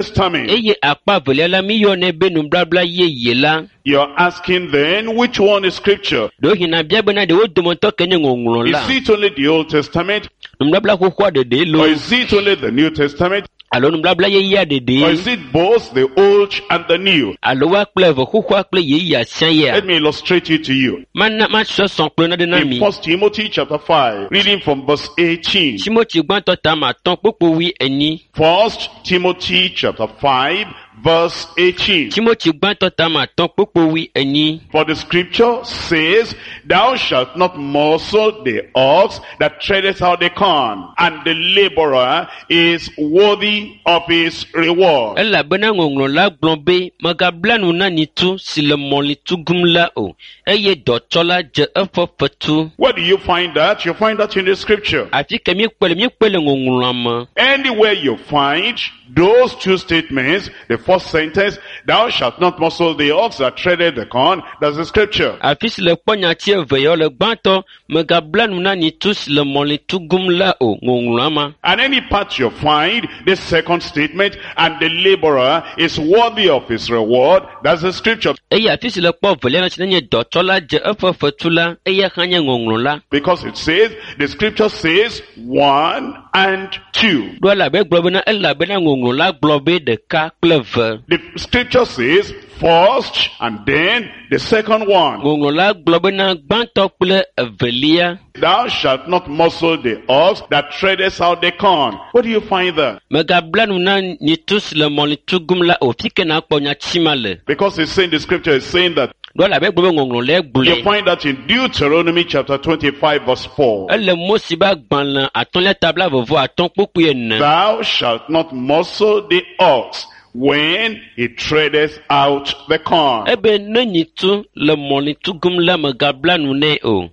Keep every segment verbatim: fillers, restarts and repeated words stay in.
Testament. Eye akpa evelia la míyɔnɛ be nubabla yeye la. You're asking then, which one is scripture? Ɖewohĩ nabia bena ɖe wo dometɔ ke nye ŋɔŋlɔ la. Is it only the Old Testament? Nubabla xoxoa ɖeɖee Or loo is it only the New Testament? alo nubabla yeyea Or ɖeɖee is it both the Old and the New? alo woa kple eve xoxoa kple yeyea sia yea? Let me illustrate it to you. Mana masɔ sɔ̃ kple naɖe na In mi. First Timothy chapter five, reading from verse eighteen. Timothy gbãtɔ ta ame atɔ̃ kpukpu wui enyi. First Timothy chapter five, verse eighteen. Timothy gbãtɔ ta ame atɔ̃ kpukpu wui enyi. For the scripture says, Thou shalt not muzzle the ox that treadeth out the corn, and the laborer is worthy of his reward. Elabena ŋɔŋlɔ la gblɔ be mègabla nu na nyitu si le mɔli tugum la o eye dɔtsɔla dze eƒe fetu. Where do you find that? You find that in the scripture. Afi ke míekpɔe le míekpɔe le ŋɔŋlɔa me. Anywhere you find those two statements, the first sentence, Thou shalt not muzzle the ox that treadeth the corn, that's the scripture. Afi si le kpɔ nyati eve yawo le gbãtɔ mègabla nu na nyitu si le mɔli tugum la o ŋɔŋlɔa ma. And any part you find the second statement, and the laborer is worthy of his reward, that's the scripture. Eye afi si le kpɔ evelia la si nenye dɔtsɔla dze eƒe fetu la eya hã nye ŋɔŋlɔ la. Because it says, the scripture says one and two. Ɖo elabe gblɔ bena elabena ŋɔŋlɔ la gblɔ be ɖeka kple eve. The scripture says first and then the second one. Ŋɔŋlɔ la gblɔ bena gbãtɔ kple evelia. Thou shalt not muzzle the ox that treadeth out the corn. Where do you find that? Mègabla nu na nyitu si le mɔli tugum la o. Fi ke nakpɔ nyati ma le. Because it's saying, the scripture is saying that. Ɖo elabe gblɔ be ŋɔŋlɔ la You gblɔe. find that in Deuteronomy chapter twenty-five verse four. Ele Mose be agbalẽ atɔ̃lia ta blaeve-vɔ atɔ̃ kpukpui ene. Thou shalt not muzzle the ox when he treadeth out the corn. Ebe ne nyitu le mɔli tugum la mègabla nu nɛ o.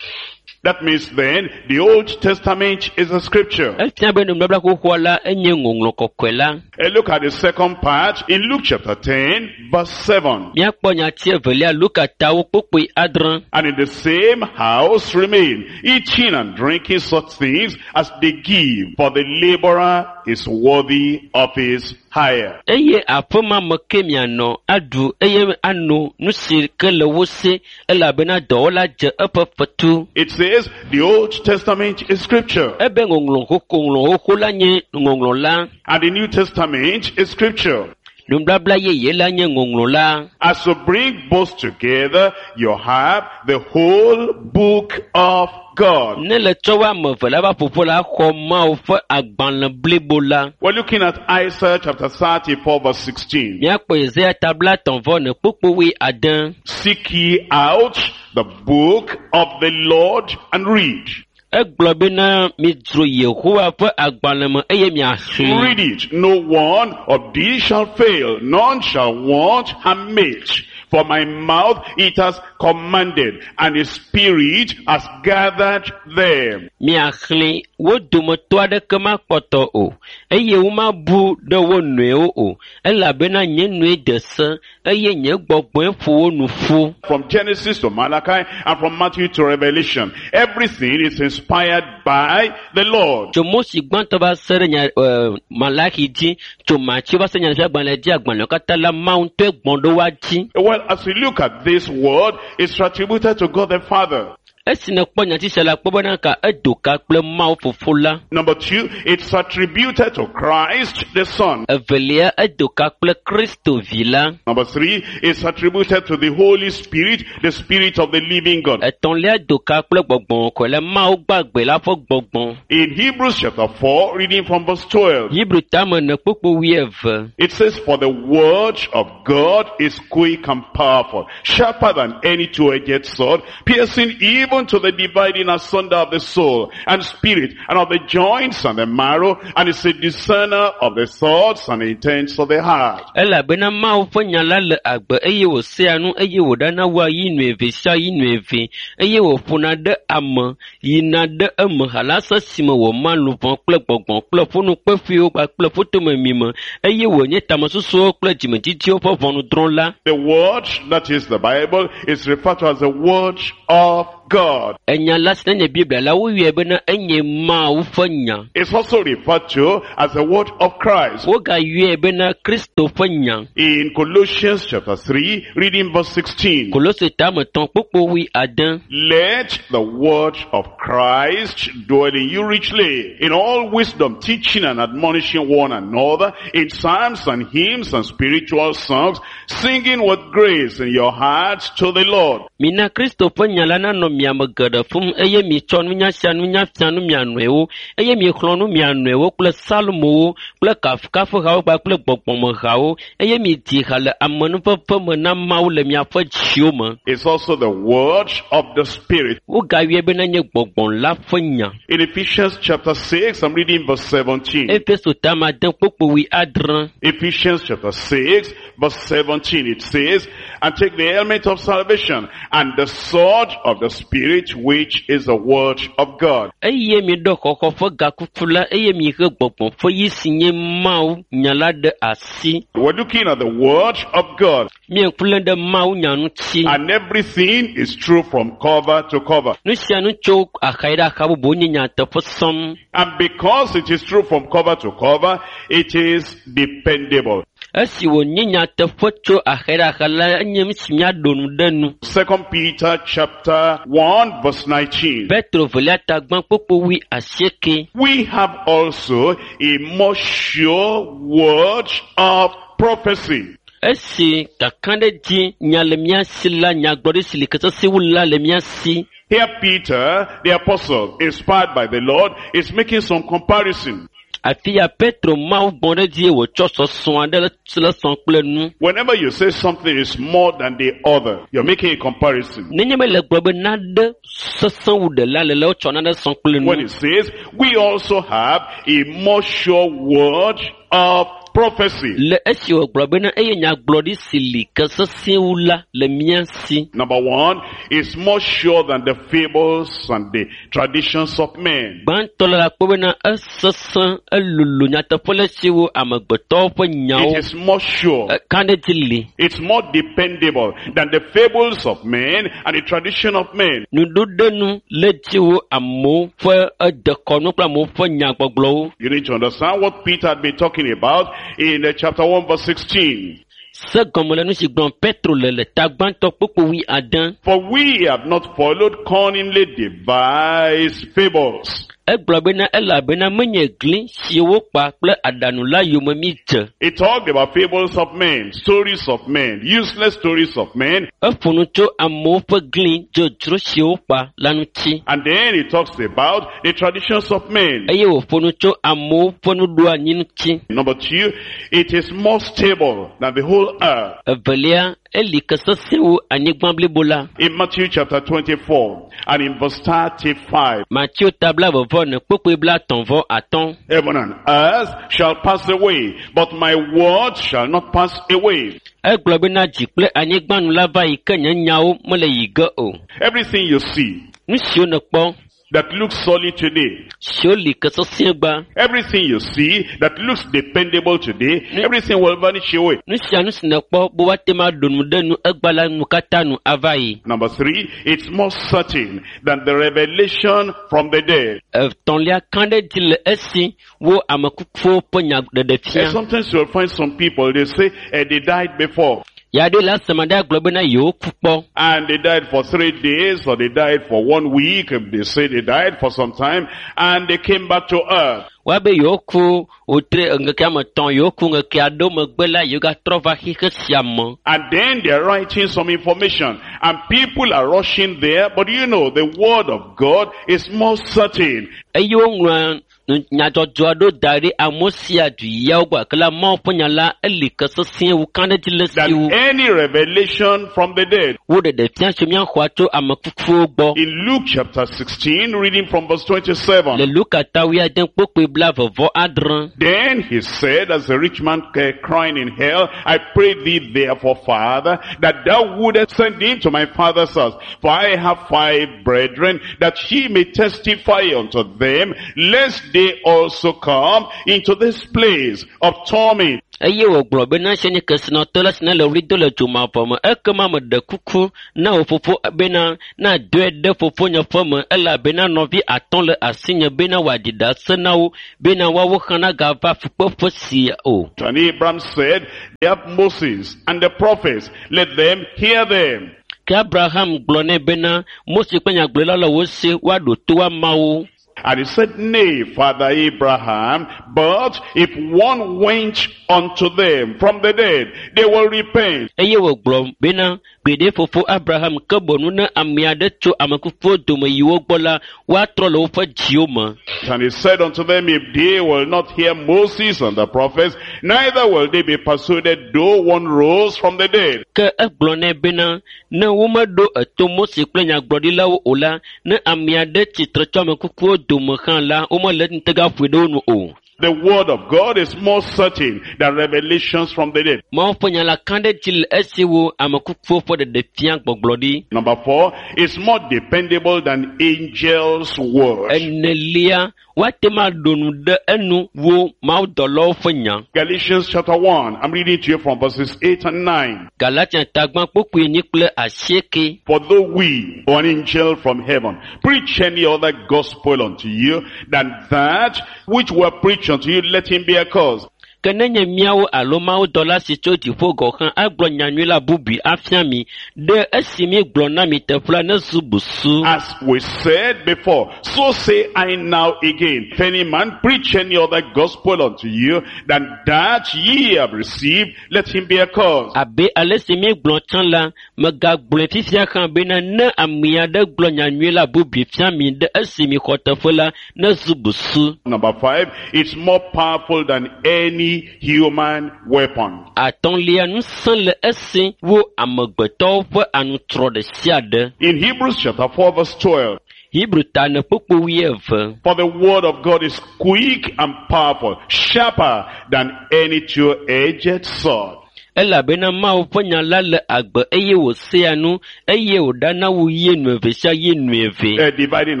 That means then the Old Testament is a scripture. Efia be nubabla xoxoa la enye ŋɔŋlɔ kɔkɔe la. And look at the second part in Luke chapter ten verse seven. Míakpɔ nyati evelia Luka tawo kpukpui adre. And in the same house remain, eating and drinking such things as they give, for the laborer is worthy of his hire. Eye aƒe ma me ke mianɔ aɖu eye ano nu si ke le wo si elabena dɔwɔla dze eƒe fetu. It says the Old Testament is scripture, Ebe ŋɔŋlɔ xoxo ŋlɔ xoxo la nye ŋɔŋlɔ la. and the New Testament is scripture. Nubabla yeye la nye ŋɔŋlɔ la. As you bring both together, you have the whole book of God. Ne le tsɔ wo ame eve la va ƒoƒo la xɔ Mawu ƒe agbalẽ blibo la. We're looking at Isaiah chapter thirty-four verse sixteen. Míakpɔ Yesaya ta blaetɔ̃ vɔ ene kpukpui wui ade. Seek ye out the book of the Lord and read. Egblɔ bena midzro Yehowa ƒe agbalẽ me eye miaxlẽ. Read it. No one of these shall fail, none shall want her mate. For my mouth it has commanded, and his spirit has gathered them. Miaxlẽ wo dometɔ aɖeke makpɔtɔ o, eye womabu ɖe wo nɔewo o, elabena nye nue de se eye nye gbɔgbɔe ƒo wo nu ƒu. From Genesis to Malachi and from Matthew to Revelation, everything is inspired by the Lord. Tso Mose gbãtɔ va se ɖe nya eh, Malachi dzi, tso Matthew va se nyaɖeɖefia dzi agbalẽwo katã la Mawu ŋutɔe gbɔ̃ ɖo woa dzi. Well, as we look at this word, it's attributed to God the Father. Esi nèkpɔ nyati sia la, kpɔ bena ka edo ka kple Mawu fofo la. Number two, it's attributed to Christ the Son. Evelia, edo ka kple Kristo vi la. Number three, it's attributed to the Holy Spirit, the Spirit of the living God. Etɔ̃lia do ka kple gbɔgbɔ kɔkɔe la, Mawu gbagbe la ƒe gbɔgbɔ. In Hebrews chapter four, reading from verse twelve, Hebrew tame ene kpukpui wuieve. it says, For the word of God is quick and powerful, sharper than any two-edged sword, piercing even to the dividing asunder of the soul and spirit, and of the joints and the marrow, and is a discerner of the thoughts and intents of the heart. Elabena Mawu ƒe nya la le agbe eye wòsea nu eye wòɖana wua yi nu eve sia yi nu eve eye wòƒona ɖe ame yina ɖe eme halase si me wòma luʋɔ kple gbɔgbɔ kple ƒunukpeƒuiwo kpakple ƒutomemi eye wònye tamesusuwo kple dzimedzidziwo ƒe ʋɔnudrɔ̃la. The word, that is the Bible, is referred to as the word of God. Enya la si nenye Biblia la woyɔe bena enye Mawu ƒe nya. It's also referred to as the word of Christ. Wogayɔe bena Kristo ƒe nya. In Colossians chapter three, reading verse sixteen. Kolose tame etɔ̃ kpukpu wui ade. Let the word of Christ dwell in you richly, in all wisdom, teaching and admonishing one another, in psalms and hymns and spiritual songs, singing with grace in your hearts to the Lord. Mina Kristo ƒe nya la nanɔ mia me geɖe fũu eye mitsɔ nunya sia nunya fia nu mia nɔewo eye mixlɔ̃ nu mia nɔewo kple psalmowo kple kafukafuhawo kpakple gbɔgbɔmehawo eye midi ha le amenuveve me na Mawu le miaƒe dziwo me. It's also the word of the Spirit. Wogayɔe bena nye gbɔgbɔ la ƒe nya. In Ephesians chapter six, I'm reading verse seventeen. Efeso tame ade kpukpu wui adre. Ephesians chapter six, verse seventeen, it says, And take the helmet of salvation and the sword of the Spirit, which is the word of God. Eye miɖɔ xɔxɔ ƒe gakuku la eye mihe gbɔgbɔ ƒe yi si nye Mawu nya la ɖe asi. We're looking at the word of God. Míeŋku lém ɖe Mawu nya ŋuti. And everything is true from cover to cover. Nu sia nu tso axa yi ɖe axa bubu nye nyateƒe sɔŋ. And because it is true from cover to cover, it is dependable. Esi wònye nyateƒe tso axa yi ɖe axa la, enye nu si míaɖo nu ɖe nu. Second Peter chapter one verse nineteen. Petro velia ta gbã kpukpu wui asieke. We have also a more sure word of prophecy. Esi kakaɖedzi nya le mía si la, nyagblɔɖi si li ke sesẽ wu la le mía si. Here Peter, the apostle, inspired by the Lord, is making some comparison. Afi ya Petro Mawu gbɔ ɖe edzi wòtsɔ sɔsɔ aɖe le sɔ kple nu. Whenever you say something is more than the other, you're making a comparison. Nenye be le gblɔ be nane sesẽ wu ɖe la le la, wotsɔ nane sɔ kple When nu. it says, we also have a more sure word of prophecy. Le esi wògblɔ bena eye nyagblɔɖi si li ke sesẽ wu la le mía si. Number one, it's more sure than the fables and the traditions of men. Gbãtɔ la akpɔ bena esesẽ elolo nyateƒe le si wo amegbetɔwo ƒe nyawo. It is more sure. Eka ɖe dzi li. It's more dependable than the fables of men and the tradition of men. Nuɖoɖenu le dzi wo amewo ƒe edekɔnu kple amewo ƒe nyagbɔgblɔwo. You need to understand what Peter had been talking about in the chapter one verse sixteen. Se gɔme le nu si gblɔm Petro le le ta gbãtɔ kpukpu wui ade. For we have not followed cunningly devised fables. Egblɔ bena elabena menye gli si wokpa kple aɖaŋu la yome mi dze. He talked about fables of men, stories of men, useless stories of men. Eƒo nu tso amewo ƒe gli dzodzro si wokpa la ŋuti. And then he talks about the traditions of men. Eye wòƒo nu tso amewo ƒe nuɖoanyi ŋuti. Number two, it is more stable than the whole earth. Evelia, eli ke sesẽ wu anyigba blibo la. In Matthew chapter twenty-four and in verse thirty-five. Mateo ta blaeve vɔ ene kpukpui blaetɔ̃ vɔ atɔ̃. Heaven and earth shall pass away, but my word shall not pass away. Egblɔ bena dzi kple anyigba nu la va yi ke nye nyawo mele yi ge o. Everything you see Nu siwo nèkpɔ that looks solid today, siwo li ke sesẽ gba, everything you see that looks dependable today, everything will vanish away. nu sia nu si nèkpɔ be woate ŋu aɖo nu ɖe nu egba la nu katã nu ava yi. Number three, it's more certain than the revelation from the dead. Etɔ̃lia ka ɖe dzi le esi wo ame kukuwo ƒe nya ɖeɖe fia. And sometimes you'll find some people, they say eh, they died before. Ya ɖe le aseme ɖe agblɔ bena yewo ku kpɔ. And they died for three days or they died for one week. They say they died for some time and they came back to earth. Woabe yewo ku wòtre ŋkeke ame etɔ̃, yewo ku ŋkeke aɖewo megbe la, yewo gatrɔ va xixe sia me. And then they're writing some information and people are rushing there. But you know, the word of God is more certain. Eye woŋlɔa nyadzɔdzɔ aɖewo da ɖi amewo sia du yawo gbɔ gake la Mawu ƒe nya la eli ke sesẽ wu ka ɖe dzi le si Than wu. any revelation from the dead. Wo ɖeɖe fia tso míaxɔa tso ame kukuwo gbɔ. In Luke chapter sixteen, reading from verse twenty-seven. Le Luka ta wuiade kpukpui blaeve vɔ adre. Then he said, as a rich man crying in hell, I pray thee therefore, Father, that thou wouldest send him to my father's house. For I have five brethren, that he may testify unto them, lest they also come into this place of torment. Eye wògblɔ bena se nye kesinɔtɔ la si ne le ɣli do le dzomavɔ me ekema meɖe kuku na wò fofo bena nadɔe ɖe fofonye ƒe me elabena nɔvi atɔ̃ le asinye bena wòaɖi ɖase na wo bena woawo hã nagava fukpeƒe sia o. And Abraham said, They have Moses and the prophets, let them hear them. Ke Abraham gblɔ nɛ bena Mose kple nyagblɔɖila le wo si woaɖo to woamawo. And he said, Nay, Father Abraham, but if one went unto them from the dead, they will repent. Eye wògblɔ bena gbeɖe fofo Abraham ke bɔnu ne ame aɖe tso ame kukuwo dome yi wo gbɔ la woatrɔ le woƒe dziwo me. And he said unto them, If they will not hear Moses and the prophets, neither will they be persuaded, though one rose from the dead. Ke egblɔ nɛ bena ne womeɖo eto Mose kple nyagblɔɖilawo o la, ne ame aɖe tsitre tso ame kukuwo dome hã la, womele ŋutega ƒoe ɖe wo nu o. The word of God is more certain than revelations from the dead. Mawu ƒe nya la ka ɖe edzi le esi wo ame kukuwo ƒe ɖeɖefia gbɔgblɔ ɖi. Number four, it's more dependable than angels' word. Enelia, woate ŋu aɖo nu ɖe enu wo mawudɔlawo ƒe nya. Galatians chapter one, I'm reading to you from verses eight and nine. Galatia tagba kpokpoe enyi kple asieke. For though we, or an angel from heaven, preach any other gospel unto you than that which were preached unto you, let him be accursed. Ke nenye míawo alo mawudɔla si tso dziƒo gɔ̃ hã agblɔ nyanyui la bubui afia mi ɖe esi míegblɔ na mi teƒe la nezu busu. As we said before, so say I now again, if any man preach any other gospel unto you than that ye have received, let him be accursed. Abe ale si míegblɔ tsã la, megagblɔe fifia hã bena ne ame aɖe gblɔ nyanyui la bubui fia mi ɖe esi mixɔ teƒe la nezu busu. Number five, it's more powerful than any human weapon. Atɔ̃lia, ŋusẽ le esi wo amegbetɔwo ƒe anutrɔ ɖe sia ɖe. In Hebrews chapter four verse twelve, Hebrew ta ne kpukpu wuieve. For the word of God is quick and powerful, sharper than any two-edged sword. Elabena Mawu ƒe nya la le agbe eye wòsea nu eye wòɖana wu ye nu eve sia ye nu eve. Uh, dividing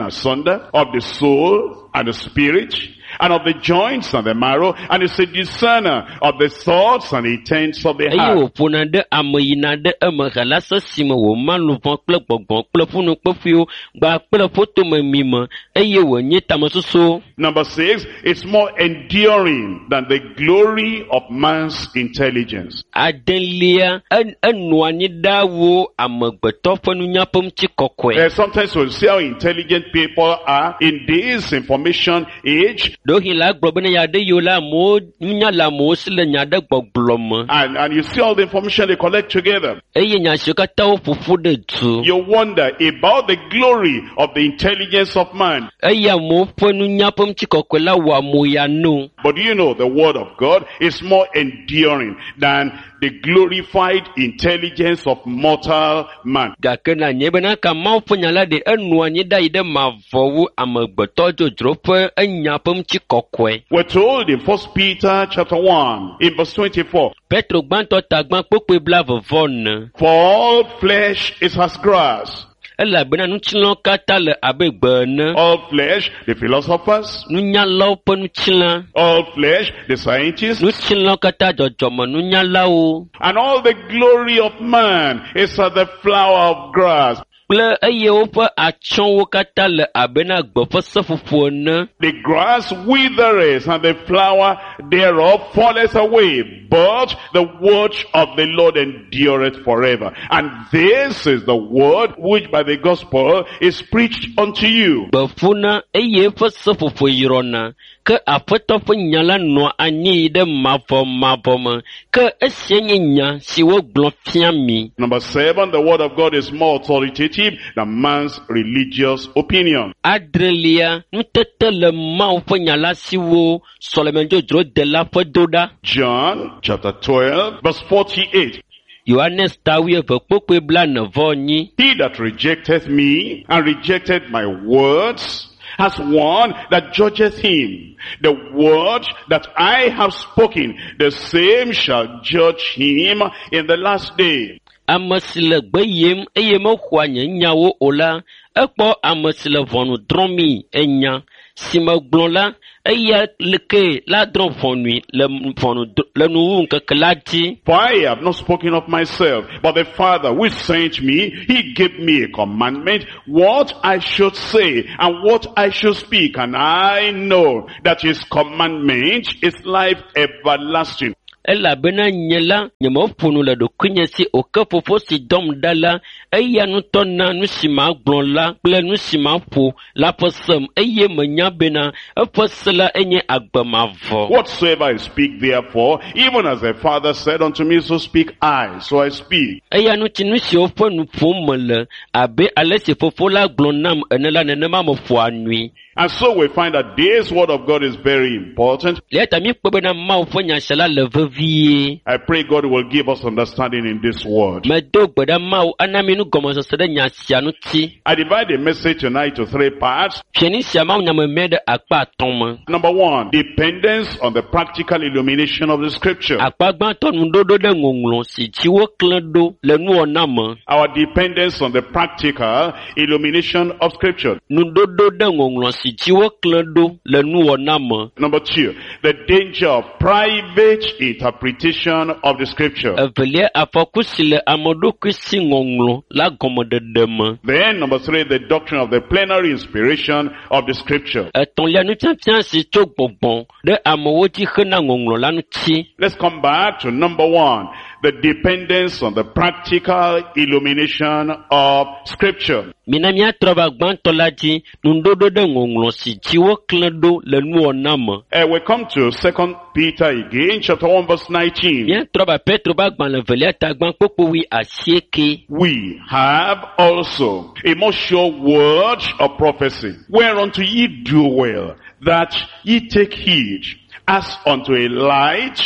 asunder of the soul and the spirit, and of the joints and the marrow, and is a discerner of the thoughts and intents of the Eye heart. wòƒona ɖe ame yina ɖe eme hela sesime wòma luʋɔ kple gbɔgbɔ kple ƒunukpeƒuiwo gba kple ƒotomemi me eye wònye tamesusuwo. Number six, it's more enduring than the glory of man's intelligence. Adelia, en- enɔa anyi ɖaa wu amegbetɔ ƒe nunya ƒe ŋutikɔkɔe. Uh, sometimes we'll see how intelligent people are in this information age, Ɖewohĩ la agblɔ bena ya ɖe yiwo la amewo nunya le amewo si le nya ɖe gbɔgblɔ me and, and you see all the information they collect together. eye nya siwo katã woƒo ƒu ɖe du You wonder about the glory of the intelligence of man. eye amewo ƒe nunya ƒe ŋutikɔkɔe la wɔ amoya no. But you know the word of God is more enduring than the glorified intelligence of mortal man. Gake na nye bena ka Mawu ƒe nya la ɖe enɔa anyi ɖa yi ɖe mavɔ wu amegbetɔ dzodzro ƒe enya ƒe ŋutikɔkɔe. We're told in First Peter chapter one in verse twenty-four, Petro gbãtɔ tagbã kpokpoe blaeve vɔ ene. For all flesh is as grass. Elabena ŋutilãwo katã le abe gbe ene. All flesh, the philosophers, Nunyalawo ƒe ŋutilã. all flesh, the scientists, Ŋutilãwo katã dzɔdzɔme nunyalawo. and all the glory of man is as the flower of grass. Kple eye woƒe atsyɔ̃wo katã le abe na gbe ƒe seƒoƒo ene. The grass withereth and the flower thereof falleth away, but the word of the Lord endureth forever. And this is the word which by the gospel is preached unto you. Gbe ƒuna eye eƒe seƒoƒo yrɔna. Ke Aƒetɔ ƒe nya la nɔa anyi yi ɖe mavɔmavɔ me. Ke esia nye nya si wogblɔ fia mi. Number seven, the word of God is more authoritative than man's religious opinion. Adrelia, nutete le Mawu ƒe nya la si wo sɔlemedzodzro de la ƒe do ɖa. John chapter twelve, verse forty-eight. Yohanes ta wuieve kpokpoe blaene vɔ enyi. He that rejecteth me and rejected my words has one that judgeth him. The word that I have spoken, the same shall judge him in the last day. Ame si le gbe yem eye mexɔa nye nyawo o la, ekpɔ ame si le ʋɔnu drɔ̃mii enya. si megblɔ la, eya ke la drɔ̃ ʋɔnui le ʋɔnu le nuwuwu la dzi. For I have not spoken of myself, but the Father which sent me, he gave me a commandment, what I should say and what I should speak. And I know that his commandment is life everlasting. Elabena nye la, nyemeƒo nu le ɖokuinye si o ke fofo si dɔm ɖa la, eya ŋutɔ na nu si magblɔ la kple nu si maƒo la ƒe sem eye menya bena eƒe se la enye agbe mavɔ. Whatsoever I speak therefore, even as the Father said unto me, so speak I, so I speak. Eya ŋuti nu siwo ƒe nu ƒom mele abe ale si fofo la gblɔ nam ene la nenema meƒoa nui. And so we find that this word of God is very important. Le eya ta míekpɔ bena Mawu ƒe nya sia la le vevie. I pray God will give us understanding in this word. Medo gbe ɖa Mawu ana mi nugɔmesese ɖe nya sia ŋuti. I divide the message tonight to three parts. Fiẽni sia Mawu nyamemɛ ɖe akpa atɔ̃ me. Number one, dependence on the practical illumination of the scripture. Akpa gbãtɔ nuɖoɖo ɖe ŋɔŋlɔ si dzi woklẽ ɖo le nuwɔna me. Our dependence on the practical illumination of scripture. Nuɖoɖo ɖe ŋɔŋlɔ si dzi woklẽ ɖo le nuwɔna me. Number two, the danger of private interpretation of the scripture. Evelia, afɔku si le ame ɖokui si ŋɔŋlɔ la gɔmeɖeɖe me. Then number three, the doctrine of the plenary inspiration of the scripture. Etɔ̃lia, nufiafia si tso gbɔgbɔ ɖe amewo dzi hena ŋɔŋlɔ la ŋuti. Let's come back to number one, the dependence on the practical illumination of scripture. Mina míatrɔ va gbãtɔ la dzi, nuɖoɖo ɖe ŋɔŋlɔ si dzi woklẽ ɖo le nuwɔna me. Uh, we come to Second Peter again, chapter one, verse nineteen. Míatrɔ va Petro ƒe agbalẽ evelia ta gbã kpukpui wui asieke. We have also a more sure word of prophecy, whereunto ye do well, that ye take heed, as unto a light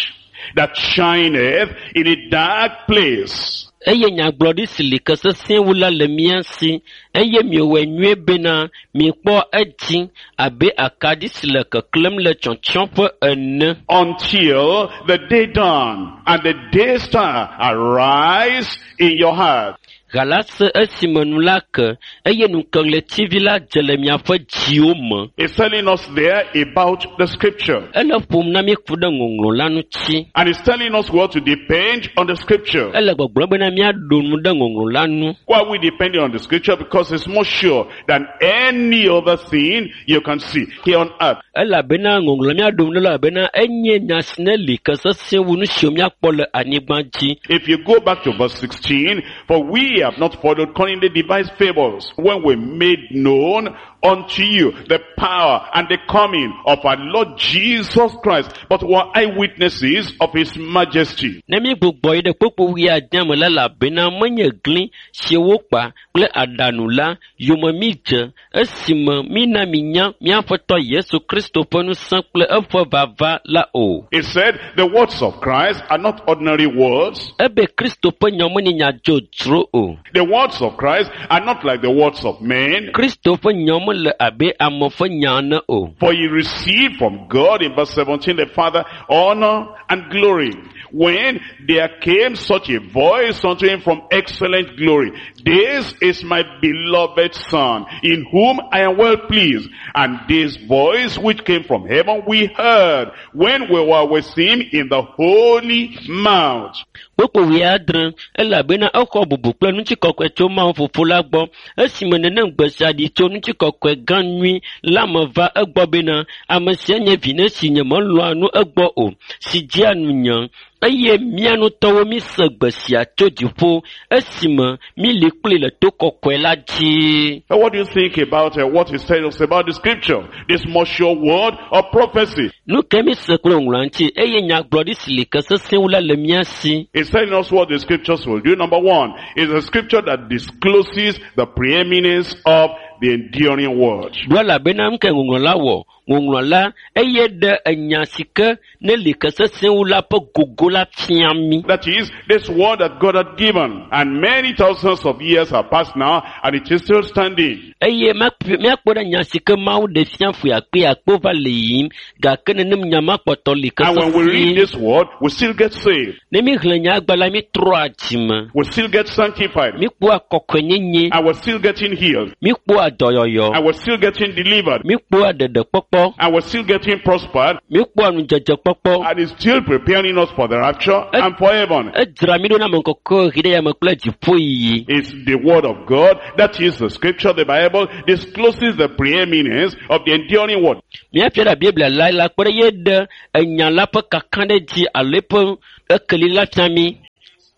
that shineth in a dark place. Eye nyagblɔɖi si li ke sesẽ wu la le mía si, eye miewɔe nyuie bena miekpɔ edzi abe akaɖi si le keklẽm le tsyɔtsyɔƒe ene. Until the day dawn and the day star arise in your heart. Gala se esime nu la ke, eye nukeɣletivi la dze le miaƒe dziwo me. It's telling us there about the scripture. Ele ƒom na mí ku ɖe ŋɔŋlɔ la ŋuti. And it's telling us what to depend on the scripture. Ele gbɔgblɔm bena míaɖo nu ɖe ŋɔŋlɔ la ŋu. Why are we depending on the scripture? Because it's more sure than any other thing you can see here on earth. Elabena ŋɔŋlɔ míaɖo nu ɖe elabena enye nya si ne li ke sesẽ wu nu siwo míakpɔ le anyigba dzi. If you go back to verse sixteen, for we have not followed cunningly devised fables when we made known unto you the power and the coming of our Lord Jesus Christ, but were eyewitnesses of his majesty. Ne mi gbugbɔ yi ɖe kpukpui wui adea me la, elabena menye gli si wokpa kple aɖaŋu la yome mi dze esime mina minya míaƒetɔ Yesu Kristo ƒe ŋusẽ kple eƒe vava la o. It said the words of Christ are not ordinary words. Ebe Kristo ƒe nyawo menye nya dzodzro o. The words of Christ are not like the words of men. Kristo ƒe nyawo mele abe ame ƒe nya ene o. For he received from God, in verse seventeen, the Father, honor and glory. When there came such a voice unto him from excellent glory, this is my beloved Son, in whom I am well pleased. And this voice which came from heaven we heard when we were with him in the holy mount. Kpukpui wui adre, elabena exɔ bubu kple ŋutikɔkɔe tso Mawu Fofo la gbɔ, esime nenem gbe sia ɖi tso ŋutikɔkɔe gã nyui la me va egbɔ bena, ame sia nye vi ne si nyemelɔ̃a nu egbɔ o, si dzea nunye. Eye mía ŋutɔwo míse gbe sia tso dziƒo esime míli kpli le to kɔkɔe la dzi. Now, what do you think about, uh, what is telling us about the scripture? This more sure word of prophecy. Nu ke míse kple ŋlɔa ŋuti eye nyagblɔɖi si li ke sesẽ wu la le mía si. It's telling us what the scriptures will do. Number one, is a scripture that discloses the preeminence of the enduring word. Ɖo elabena nu ke ŋɔŋlɔ la wɔ. Ŋɔŋlɔ la eye ɖe enya si ke ne li ke sesẽ wu la ƒe gogo la fia mí. That is, this word that God had given. And many thousands of years have passed now, and it is still standing. Eye míakpɔ míakpɔ ɖe nya si ke Mawu ɖe fia ƒe akpe akpe va le yiyim gake nenem nya ma kpɔtɔ li ke And when we read sesĩe. this word, we still get saved. Ne míxlẽ nya agba la, mítrɔa dzime. We still get sanctified. Míkpɔa kɔkɔenyenye, And we're still getting healed. míkpɔa dɔyɔyɔ, And we're still getting delivered. míkpɔa ɖeɖekpɔkpɔ, And we're still getting prospered. míkpɔa nudzedzekpɔkpɔ. And it's still preparing us for the rapture and for heaven. Edzra mí ɖo na ame kɔkɔe ɣi ɖe yame kple dziƒoyiyi. It's the word of God. That is the scripture, the Bible discloses the preeminence of the enduring word. Míafia ɖe Biblia la la kpɔ ɖe ye ɖe enya la ƒe kakaɖedzi alo eƒe ekeli la fia mí.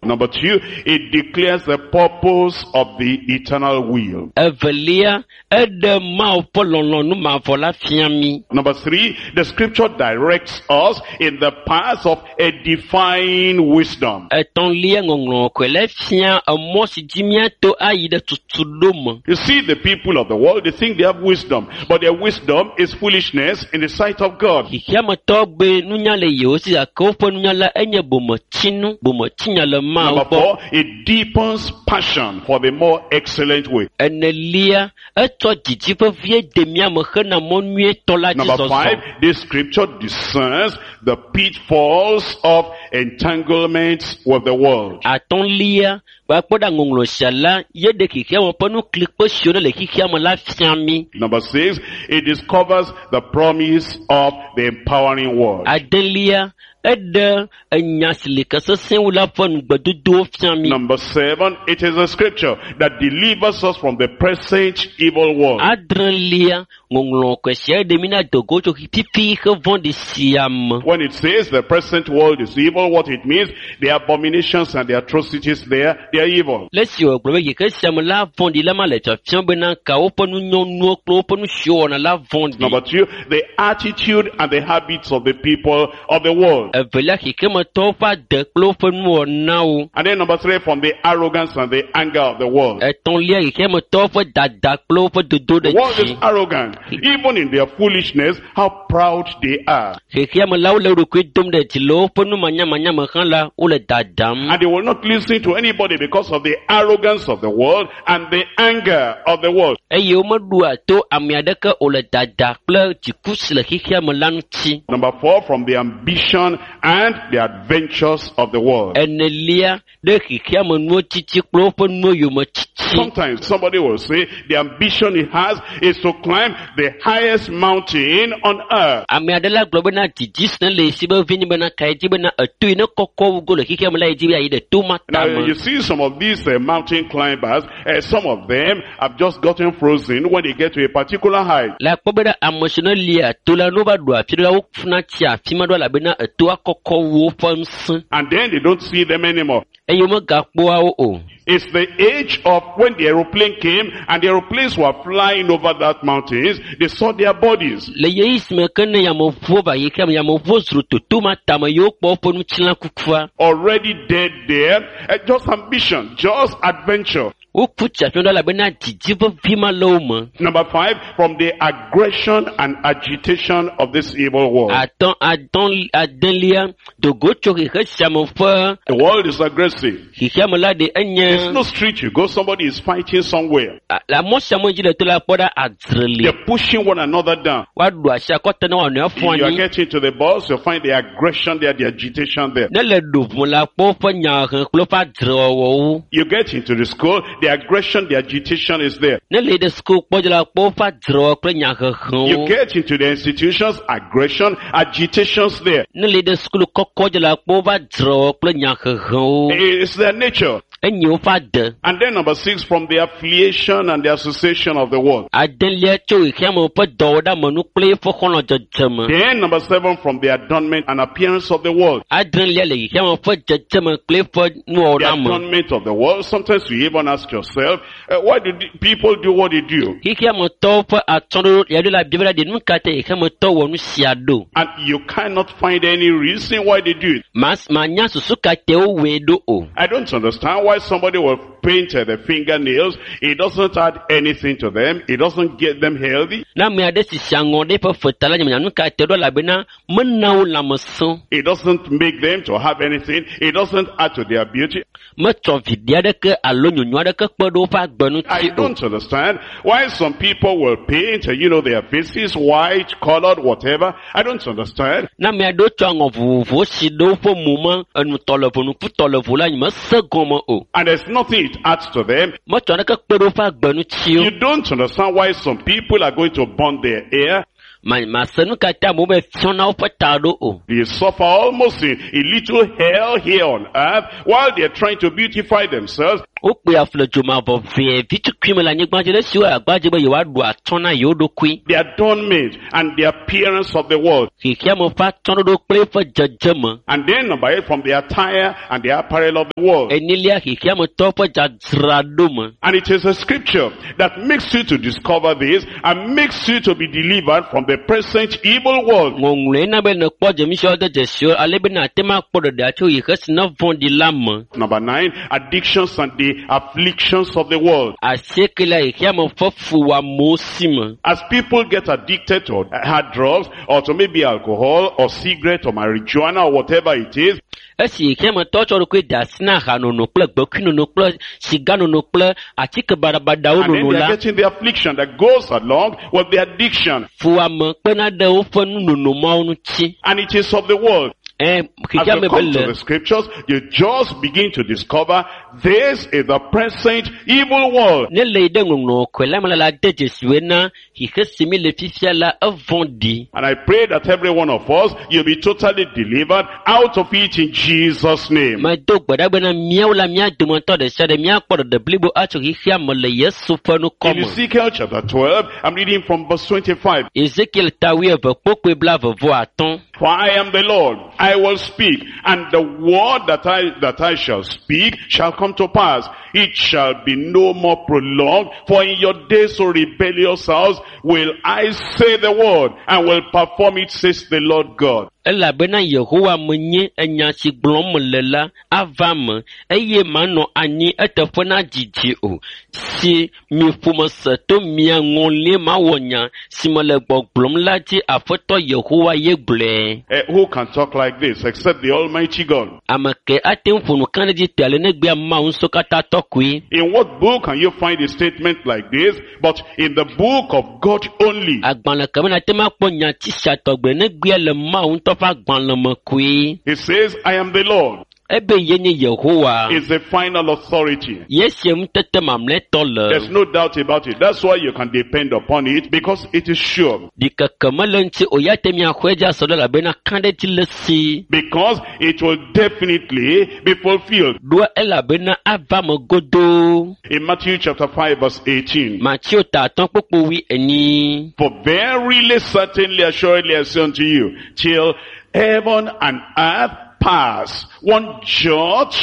Number two, it declares the purpose of the eternal will. Evelia, eɖe Mawu ƒe lɔlɔ̃nu mavɔ la fia mí. Number three, the scripture directs us in the path of edifying wisdom. Etɔ̃lia, ŋɔŋlɔ kɔe la fia emɔ si dzi míato ayi ɖe tutuɖo me. You see, the people of the world, they think they have wisdom, but their wisdom is foolishness in the sight of God. Xexeametɔwo be nunya le yewo si gake woƒe nunya la enye bometsinu, bometsinya le Mawu Number gbɔ. four, it deepens passion for the more excellent way. Enelia, etsɔ dzidzi vevie de mía me hena mɔ nyuietɔ la dzi Number zɔzɔ. five, this scripture discerns the pitfalls of entanglements with the world. Atɔ̃lia, gbakpɔ ɖa ŋɔŋlɔ sia la, ye ɖe xexeame ƒe nuklikpe siwo ne le xexeame la fia mí. Number six, it discovers the promise of the empowering word. Adelia, eɖe enya si li ke sesẽ wu la ƒe nugbedodowo fia mí. Number seven, it is a scripture that delivers us from the present evil world. Adrelia, ŋɔŋlɔ kɔe sia ɖe mí na dogo tso fifi xe vɔ̃ɖi sia me. When it says the present world is evil, what it means, the abominations and the atrocities there, they are evil. Le esi wògblɔ be xexe sia me la vɔ̃ɖi la ma le fiafiam bena ka woƒe nunyɔnuwo kple woƒe nu siwo wɔna la vɔ̃ɖi. Number two, the attitude and the habits of the people of the world. Evelia, xexemetɔwo ƒe ade kple woƒe nuwɔnawo. And then number three, from the arrogance and the anger of the world. Etɔ̃lia, xexemetɔwo ƒe dada kple woƒe dodo The ɖe world is dzi. arrogant. Even in their foolishness, how proud they are. Xexeame la wole wo ɖokui dom ɖe dzi le woƒe numanyamanya me hã la, wole dadam. And they will not listen to anybody because of the arrogance of the world and the anger of the world. Eye womeɖoa to ame aɖeke o le dada kple dziku si le xexeame la ŋuti. Number four, from the ambition and the adventures of the world. Enelia, ɖe xexeame nuwo tsitsi kple woƒe nuwo yome tsitsi. Sometimes somebody will say the ambition he has is to climb the highest mountain on earth. Ame aɖe la gblɔ bena dzidzi si ne le esi be vi nyi bena ka ye dzi bena eto yi ne kɔkɔ wu go le xexeame la ye dzi be yeayi ɖe to ma Now tame. you see some of these uh, mountain climbers, uh, some of them have just gotten frozen when they get to a particular height. Le akpɔ bena ame si ne lia to la, ne wova ɖo afi ɖe la, wofuna tsia afi ma ɖo elabena etoa kɔkɔ wu woƒe ŋusẽ And then they don't see them anymore. eye womegakpɔa wo o. It's the age of when the aeroplane came and the aeroplanes were flying over that mountains, they saw their bodies. Le ɣeyiɣi si me ke ne yameʋuwo va xexeame, yameʋuwo zro toto ma tame ye wokpɔ woƒe ŋutilã kukua. Already dead there. Uh, just ambition, just adventure. Woku tsi afi ma ɖo elabena dzidzi vevi ma le wo me. Number five, from the aggression and agitation of this evil world. Atɔ̃, atɔ̃, adelia, dogo tso xexe sia me ƒe The world is aggressive. xexeame la ɖe enye There's no street you go, somebody is fighting somewhere. a- le mɔ sia me dzi le to la kpɔ ɖa adzre li. They're pushing one another down. Woaɖu asi akɔta ne woanɔewo If fɔ you are anyi. getting to the bus, you'll find the aggression there, the agitation there. Ne le ɖo ʋu la kpɔ woƒe nyahehe kple woƒe adzrewɔwɔwo. You get into the school, the aggression, the agitation is there. Ne le ɖe suku kpɔ dzi la kpɔ woƒe adzrewɔwɔ kple You nyahehewo. get into the institutions, aggression, agitations there. Ne le ɖe sukulu kɔkɔ dzi la kpɔ woƒe adzrewɔwɔ kple nyahehewo. It's their nature. Enye woƒe ade. And then number six, from the affiliation and the association of the world. Adelia tso xexeame ƒe dɔwɔɖeamenu kple eƒe xɔlɔ̃dzedzeme. Then number seven, from the adornment and appearance of the world. Adrelia le xexeame ƒe dzedzeme kple eƒe The nuwɔɖeame. adornment of the world. Sometimes you even ask yourself, uh, why do the people do what they do? Xexeametɔwo ƒe atsyɔ̃ɖoɖo ya ɖo la bia be ɖe nu ka ta xexeametɔ wɔ nu sia ɖo? And you cannot find any reason why they do it. Mas manya susu ka te wowɔe ɖo o. I don't understand why somebody will paint uh, the fingernails, it doesn't add anything to them. It doesn't get them healthy. Ne ame aɖe sisi aŋɔ ɖe eƒe feta la, nyemenya nu ka te ɖo elabena mena wo lãmesẽ. It doesn't make them to have anything. It doesn't add to their beauty. Metsɔ viɖe aɖeke alo nyonyo aɖeke kpe ɖe woƒe agbe I ŋuti o. don't understand why some people will paint, uh, you know, their faces white, colored, whatever. I don't understand. Ne ame aɖewo tsɔ aŋɔ vovovowo si ɖe woƒe mo me, enutɔ le vo, nukutɔ le vo la, nyemese gɔme o. And there's nothing it adds to them. Metsɔ naneke kpe ɖe woƒe agbe ŋuti o. You don't understand why some people are going to burn their hair. Ma mase nu ka ta amewo be fiɔna woƒe ta ɖo o. They suffer almost a, a little hell here on earth while they're trying to beautify themselves. Wokpe afu le dzomavɔ vee vitukui me le anyigba dzi ɖe esiwo agba dzi be yewoaɖu atsyɔ̃ na yewo ɖokui. The adornment and the appearance of the world. Xexeame ƒe atsyɔ̃ɖoɖo kple eƒe dzedzeme. And then number eight, from the attire and the apparel of the world. Enelia xexeametɔwo ƒe dzadzraɖo me. And it is a scripture that makes you to discover this and makes you to be delivered from the present evil world. Ŋɔŋlɔe na be nèkpɔ dzemisiawo de dzesiwo ale be nàte ŋu akpɔ ɖeɖea tso xexe si ne vɔ̃ɖi la me. Number nine, addictions and the afflictions of the world. Asiekelia xexeame ƒe fuwɔamewo si me. As people get addicted to hard drugs or to maybe alcohol or cigarette or marijuana or whatever it is, Esi xexeametɔwo tsɔ ɖokui de asi na ahanono kple gbekuinono kple siganono kple atike baɖabaɖawo and then nono they la, are getting the affliction that goes along with the addiction. fuwɔame kpena ɖe woƒe nunono mawo ŋuti. And it is of the world. Ɛ As xexeame you be come to le the scriptures, you just begin to discover this is the present evil world. ne le yi ɖe ŋɔŋlɔ kɔe la me la la de dzesi na xexe si mi le fifia la evɔ̃ɖi. And I pray that every one of us, you'll be totally delivered out of it in Jesus' name. Medo gbe ɖa bena míawo la mía dometɔ ɖe sia ɖe míakpɔ ɖeɖe blibo atso xexea me le Yesu ƒe ŋkɔ In me. Ezekiel chapter twelve, I'm reading from verse twenty-five. Ezekiel ta wuieve kpokpoe blaeve vɔ atɔ̃. For I am the Lord, I will speak, and the word that I, that I shall speak shall come to pass. It shall be no more prolonged, for in your days, O rebellious house, will I say the word, and will perform it, says the Lord God. Elabena Yehowa menye enya si gblɔm mele la ava me eye manɔ anyi eteƒe na dzidzi o. Si mi ƒome se to mia ŋɔlie mawɔ nya si mele gbɔgblɔm la dzi Aƒetɔ Yehowa ye gblɔe. Eh, who can talk like this except the Almighty God? Ame ke ate ŋu ƒo nu kã ɖe dzi te ale negbea Mawu ŋusẽkatãtɔ koe. In what book can you find a statement like this? But in the book of God only. Agbalẽ ke me nate ŋu akpɔ nyati sia tɔgbe negbea le Mawu ŋutɔ ƒe agbalẽ me koe. He says, I am the Lord. Ebe ye nye Yehowa. Is the final authority. Ye sie ŋutete mamlɛtɔ le. There's no doubt about it. That's why you can depend upon it, because it is sure. Ɖikeke mele ŋuti o ya te miaxɔe dzi asɔ ɖe elabena kã ɖe dzi le si. Because it will definitely be fulfilled. Ɖoa elabena ava me godoo. In Matthew chapter five verse eighteen. Mateo ta atɔ̃ kpokpo wui enyi. For verily, certainly, assuredly, I say unto you, till heaven and earth pass, one jot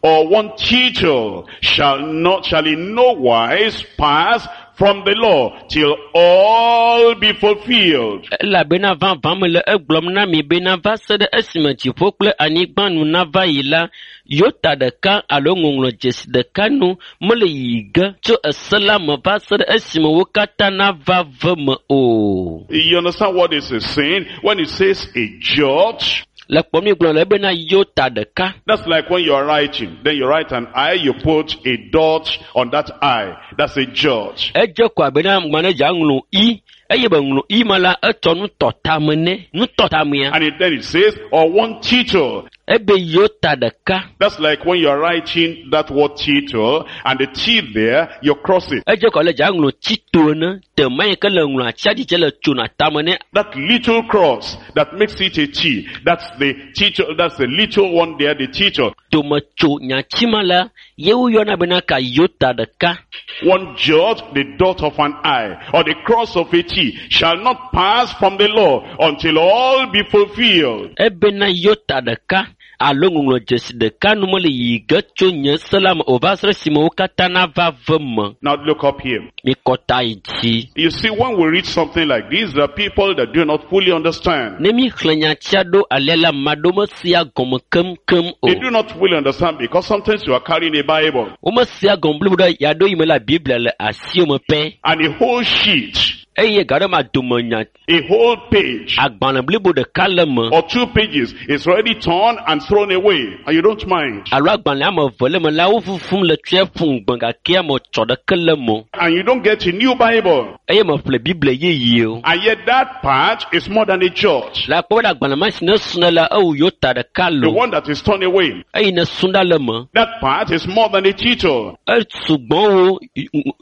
or one tittle shall not, shall in no wise pass from the law till all be fulfilled. Elabena vavã mele egblɔm na mi bena va se ɖe esime dziƒo kple anyigba nu nava yi la, yota ɖeka alo ŋɔŋlɔdzesi ɖeka nu mele yiyi ge tso ese la me va se ɖe esime wo katã nava ve me o. You understand what this is saying? When it says a jot, Le kpɔm mi gblɔ le bena yota ɖeka. that's like when you are writing. Then you write an I, you put a dot on that I. That's a jot. Edze ko abe na ŋgba ne dza ŋlɔ i eye be ŋlɔ i ma la etsɔ nutɔtame ne nutɔtamea. And it, then it says, or one tittle. Ebe yota ɖeka. That's like when you are writing that word tittle, and the T there, you cross it. Edze ko ale dza ŋlɔ tito ene tema yi ke le ŋlɔ atsia dzidze le tsona tame ne. That little cross that makes it a T. That's the tittle, that's the little one there, the tittle. Tome tso nyatsi ma la ye woyɔna bena ka yota ɖeka. One jot, the dot of an I, or the cross of a T, shall not pass from the law until all be fulfilled. Ebena yota ɖeka alo ŋɔŋlɔdzesi ɖeka nu mele yiyi ge tso nye se la me o va se ɖe esime wo katã nava ve me. Now look up here. Mikɔ ta yi dzi. You see, when we read something like this, there are people that do not fully understand. Ne míxlẽ nyatia ɖo alea la, ame aɖewo mesea gɔme keŋkeŋ o. They do not fully understand because sometimes you are carrying a Bible Womesea gɔme blibo ɖe yaɖo yi me la Biblia le asiwò me pɛ and a whole sheet, eye gaɖe ma dome nya a whole page agbalẽ blibo ɖeka le me or two pages is already torn and thrown away and you don't mind. alo agbalẽ ame eve le me la wo fufum le tsɔe ƒu ŋgbe gake ame tsɔ ɖeke le me o. And you don't get a new Bible. eye meƒle Biblia yeye o. And yet that part is more than a church. Le akpɔ be agbalẽ ma si ne srɔ̃ la ewu yewo ta ɖeka The lo one that is torn away. eye ne srɔ̃ ɖa le me That part is more than a title. esugbɔ wo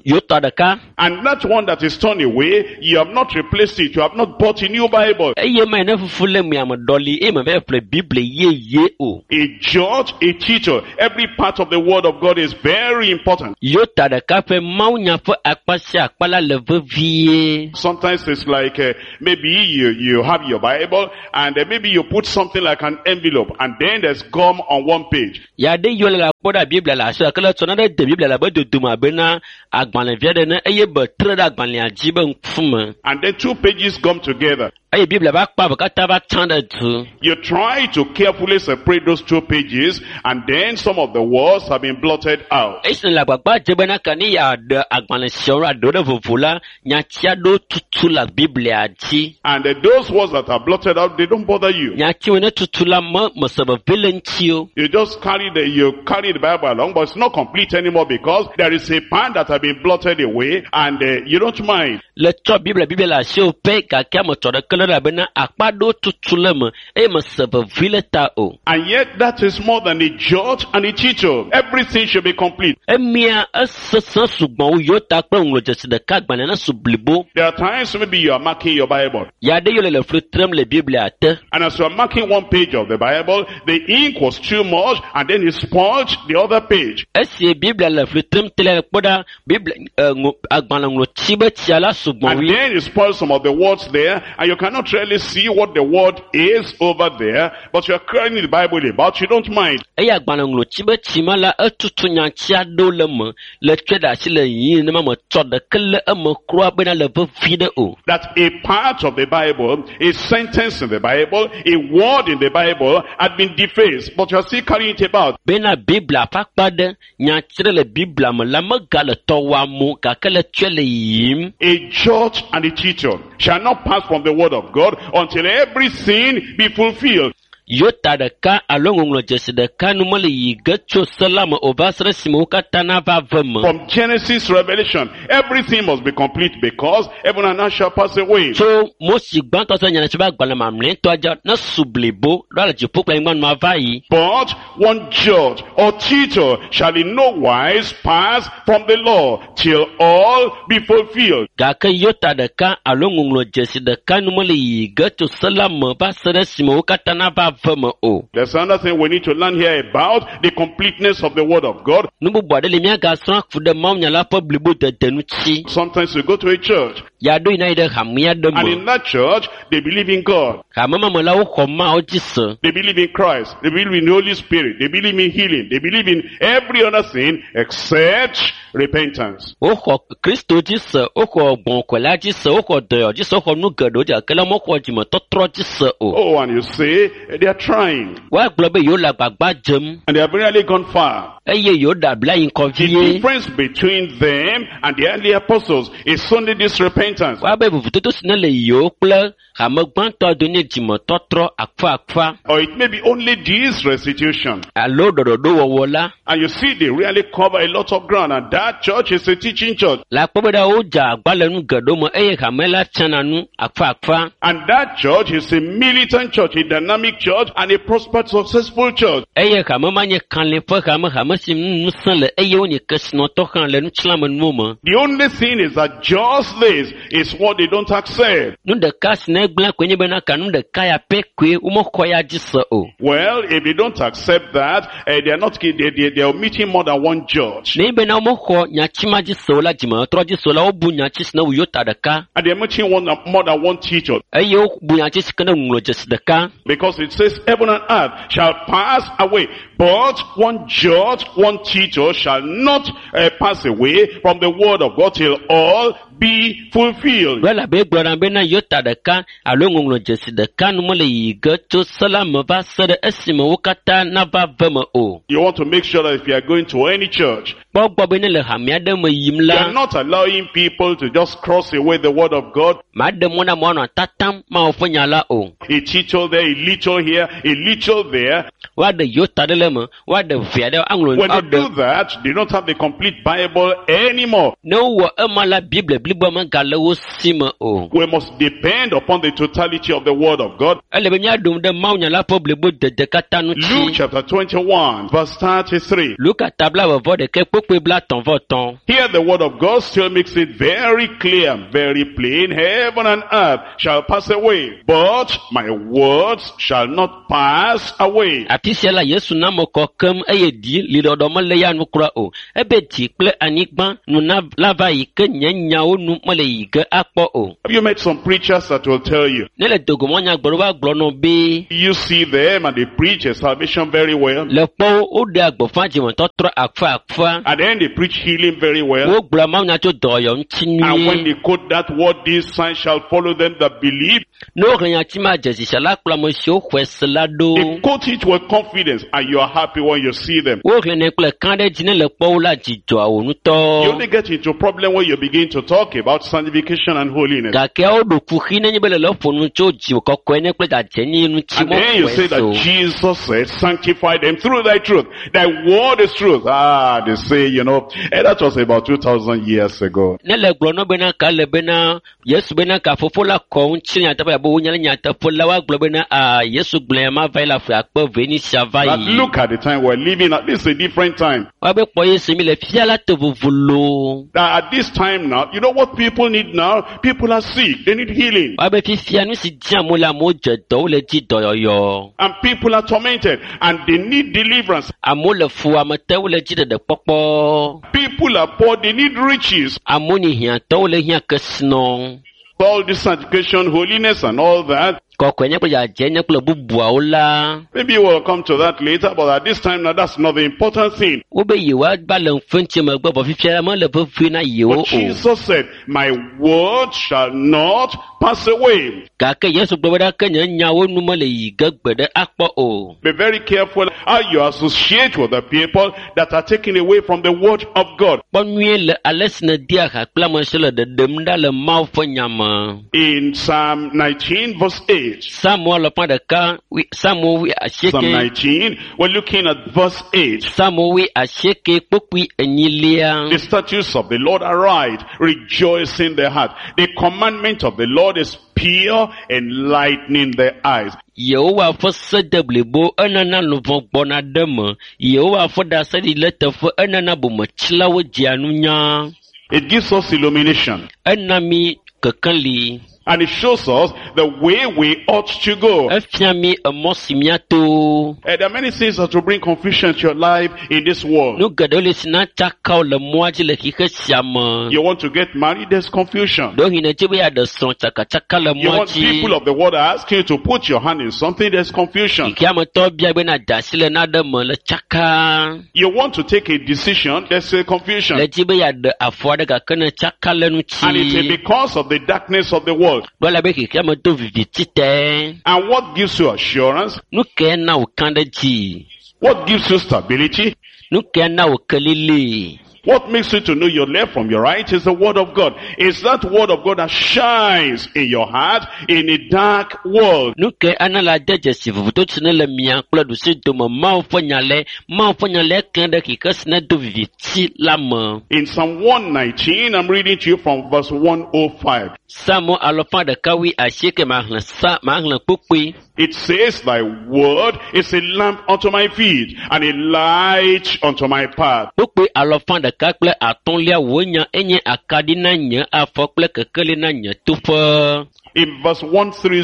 yewo ta ɖeka And that one that is torn away, you have not replaced it. You have not bought a new Bible. eye ma yi ne fufu le mea me ɖɔli eye me va ƒle Biblia yeye o. A judge, a teacher. Every part of the word of God is very important. Yewo ta ɖeka ƒe mawunya ƒe akpa sia akpa la le vevie. Sometimes it's like uh, maybe you, you have your Bible and uh, maybe you put something like an envelope and then there's gum on one page. Ya ɖe yiwo le akpɔ ɖe Biblia le asi gake le tsɔ naɖe de Biblia le abe dodome abe na agbalẽvi aɖe ne eye be tre ɖe agbalẽa dzi be ŋkume And then two pages gum together. eye Biblia ƒe akpa eve katã va tsã ɖe du. You try to carefully separate those two pages and then some of the words have been blotted out. Esi le agbagba dze bena ke ne yeaɖe agbalẽ siawo aɖewo ɖe vovo la, nyati aɖewo tutu le Biblia dzi. And uh, those words that are blotted out, they don't bother you. Nyatiwo ne tutu la me mese veve le ŋuti o. You just carry the, you carry the Bible along, but it's not complete anymore because there is a part that has been blotted away and uh, you don't mind. Le tsɔ Biblia Biblia le asiwò pɛ gake ame tsɔ ɖeke le elabena akpa aɖewo tutu le eme eye mese veve le ta o. And yet that is more than a judge and a teacher. Everything should be complete. Emia esesẽ sugbɔ wu yewo ta kple ŋlɔdzesi ɖeka agbalẽ na su blibo. There are times maybe you are marking your Bible. Ya ɖe yiwo le le fli trem le Biblia te. And as you are marking one page of the Bible, the ink was too much and then it spoiled the other page. Esi Biblia le fli trem te la kpɔ ɖa Biblia eh, ŋo- agbalẽ ŋlɔtsi be tsia la sugbɔ And wui. then it spoiled some of the words there and you cannot really see what the word is over there, but you are carrying the Bible about, you don't mind. Eye agbalẽ ŋlɔtsi be tsi ma la etutu nyati aɖewo le eme le tsɔe ɖe asi le yiyim nenema me tsɔ ɖeke le eme kura bena le vevi ɖe o. That a part of the Bible, a sentence in the Bible, a word in the Bible had been defaced, but you are still carrying it about. Bena Biblia ƒe akpa ɖe nyati ɖe le Biblia me la megale tɔ wɔam o gake le tsɔe le yiyim. A judge and a teacher shall not pass from the word of God until every sin be fulfilled. Yota ɖeka alo ŋɔŋlɔdzesi ɖeka nu mele yiyi ge tso se la me o va se ɖe esime wo katã nava ve me. From Genesis Revelation, everything must be complete because heaven and earth shall pass away. Tso Mose gbãtɔ se nyanatsi be agbalẽ mamlɛtɔa dzi ne su blibo ɖo ale dziƒo kple anyigba nua va yi. But one judge or teacher shall in no wise pass from the law till all be fulfilled. Gake yota ɖeka alo ŋɔŋlɔdzesi ɖeka nu mele yiyi ge tso se la me va se ɖe esime wo katã nava ve me o. There's another thing we need to learn here about the completeness of the word of God. Nu bubu aɖe li míagasrɔ̃ ku ɖe mawunya la ƒe blibodede ŋuti. Sometimes you go to a church Yaɖo yina yi ɖe hame aɖe and me. in that church they believe in God. Hame ma me la woxɔ Mawu dzi se. They believe in Christ. They believe in the Holy Spirit. They believe in healing. They believe in every other thing except repentance. Woxɔ Kristo dzi se, woxɔ gbɔ̃kɔla dzi se, woxɔ dɔyɔ dzi se, woxɔ nu geɖewo dzi gake la mexɔ dzimetɔtrɔ dzi se o. Oh, and you say they are trying Woagblɔ be yewo le agbagba dzem and they have really gone far. eye yewo ɖe abla yi ŋkɔ The vie. difference between them and the early apostles is only this repentance. Woabe vovototo si ne le yewo kple hame gbãtɔ do nye dzimetɔtrɔ akfaakfa Or it may be only this restitution. alo ɖɔɖɔɖowɔwɔ la. And you see, they really cover a lot of ground. And that church is a teaching church. Le akpɔ be ɖa wodze agba le nu geɖewo me eye hame la tsana nu akfaakfa. And that church is a militant church, a dynamic church, and a prosperous, successful church. Eye hame ma nye kalẽ ƒe hame, hame ame si ŋu ŋusẽ le eye wonye kesinɔtɔ hã le ŋutilãmenuwo me. The only thing is that just this is what they don't accept. Nu ɖeka si ne gblẽ koe nye bena ka nu ɖeka ya pɛ koe womexɔ ya dzi se o. Well, if they don't accept that, uh, they are not, they, they, they are omitting more than one judge. Ne bena womexɔ nyatsi ma dzi se o la dzimetɔtrɔ dzi se o la wobu nyatsi si ne wu yota ɖeka And they are omitting one, more than one teacher. eye wobu nyatsi si ke ne ŋlɔ dzesi ɖeka. Because it says heaven and earth shall pass away, but one judge, one teacher shall not uh, pass away from the word of God till all be fulfilled. Ɖo elabe egblɔ na bena yota ɖeka alo ŋɔŋlɔ dzesi ɖeka nu mele yiyi ge tso se la me va se ɖe esime wo katã nava ve me o. You want to make sure that if you are going to any church, Kpɔ gbɔ be ne le hame aɖe me yim you la, are not allowing people to just cross away the word of God. maɖe mɔ na amewo anɔ tatam Mawu ƒe nya la o. A teacher there, a little here, a little there. Woaɖe yota ɖe le eme, woaɖe vi aɖe aŋlɔ When they aɖe. do that, they don't have the complete Bible anymore. Ne wowɔ ema la, Biblia bliboa megale wo si me o. We must depend upon the totality of the word of God. Ele be míaɖo ŋu ɖe Mawu nya la ƒe blibo dede katã Luke ŋuti. chapter twenty-one, verse thirty-three. Luka ta blaeve ɖekɛ kpokpoe blaetɔ̃ vɔ etɔ̃. Here the word of God still makes it very clear and very plain. Heaven and earth shall pass away, but my words shall not pass away. Afi sia la Yesu na ame kɔ keŋ eye dzi liɖɔɖɔ mele ya nu kura o. Ebe dzi kple anyigba nu na la va yi ke nye nyawo nu mele yi ge akpɔ o. Have you met some preachers that will tell you? Ne le dogomɔ nyagblɔɖo va gblɔ nɔ be You see them and they preach a salvation very well. le kpɔwo woɖea gbeƒã dzimetɔtrɔ akfa akfa. And then they preach healing very well. Wogblɔa Mawu nya tso dɔyɔ ŋuti And when nyuie. they quote that word, these signs shall follow them that believe. Ne woxlẽ nyati ma dzesi sia la kplɔ ame siwo xɔe se la ɖo. They quote it with confidence and you are happy when you see them. Woxlẽnɛ kple kã ɖe dzi ne le kpɔwo la dzi dzɔa wo You ŋutɔ. only get into problem when you begin to talk about sanctification and holiness. Gake woɖo kuxi nenye be le le ƒo nu tso dzi kɔkɔe ne kple dzadzɛnyi ŋuti And then you mexɔe say se o. that Jesus said, sanctify them through thy truth. Thy word is truth. Ah, they say, you know, eh, that was about two thousand years ago. Ne le gblɔ nɔ bena ka le bena Yesu bena ka fofo la kɔ ŋuti nyateƒe abe wonya le nyateƒe la woagblɔ bena aa Yesu gblɔe ma va yi le afi akpe ve ni sia va But yi. look at the time we're living at. This is a different time. Woabe kpɔ Yesu mi le fia la te vovo loo. Now, at this time now, you know what people need now? People are sick. They need healing. Woabe fifia nu si di amewo le amewo dze dɔ wole dzi dɔyɔyɔ. And people are tormented and they need deliverance. Amewo le fu ame te wole dzi ɖeɖe kpɔkpɔ. People are poor. They need riches. Amewo nye hiãtɔwo wole hiã kesinɔ. All this sanctification, holiness and all that. Kɔkɔe nye kple dzadzɛ nye kple bubuawo la. Maybe we'll come to that later, but at this time now, that's not the important thing. Wobe yewoava le ŋfɛntsi megbe vɔ fifia la mele vevie na yewo But o. Jesus said, my word shall not pass away. Gake Yesu gblɔ be ɖa ke nye nyawo nu mele yi ge gbe ɖe akpɔ o. Be very careful how you associate with the people that are taken away from the word of God. Kpɔ nyuie le ale si nèdea ha kple ame siwo le ɖeɖem ɖa le Mawu ƒe nya me. In Psalm nineteen verse eight. Psalmo alafa ɖeka wi- Psalmo wi Psalm asieke. nineteen, we're looking at verse eight. Psalmo wi asieke kpokpui enyilia. The statutes of the Lord are right, rejoicing the heart. The commandment of the Lord is pure, enlightening the eyes. Yehowa ƒe se de blibo enana luʋɔ gbɔna ɖe me. Yehowa ƒe ɖaseɖiɖi le teƒe enana bometsilawo dzea nunya. It gives us illumination. Ena mi kekeli. And it shows us the way we ought to go. Efia mi emɔ si míato. Eh, there are many things that will bring confusion to your life in this world. Nu geɖewo le si na tsaka wo le mɔa dzi le xixe sia me. You want to get married, there's confusion. Ɖewohĩ nèdze be yeaɖe srɔ̃ tsakatsaka le You mɔa want dzi. people of the world are asking you to put your hand in something, there's confusion. Xexeametɔwo bia be nàda asi le naɖe me le tsaka. You want to take a decision, there's a confusion. Le dzi be yeaɖe afɔ aɖe gake ne tsaka le ŋuti. And it is because of the darkness of the world. Ɖo elabe xexeame do viviti te. And what gives you assurance? Nu kae na wò kã ɖe dzi? What gives you stability? Nu kae na wò kelili? What makes you to know your left from your right is the word of God. It's that word of God that shines in your heart in a dark world. Nu kae ana la de dzesi vovototo si ne le mia kple ɖusi dome Mawu ƒe nya le Mawu ƒe nya le klẽ ɖe xixe si ne do viviti la me. In Psalm one nineteen, I'm reading to you from verse one oh five. Psalmo alafa ɖeka wui asieke maxlẽ sa maxlẽ kpukpui. It says, thy word is a lamp unto my feet and a light unto my path. Kpukpui alɔfa ɖeka kple atɔ̃lia wò nya enye akaɖi na nye afɔ kple kekeli na nye toƒe. In verse one thirty,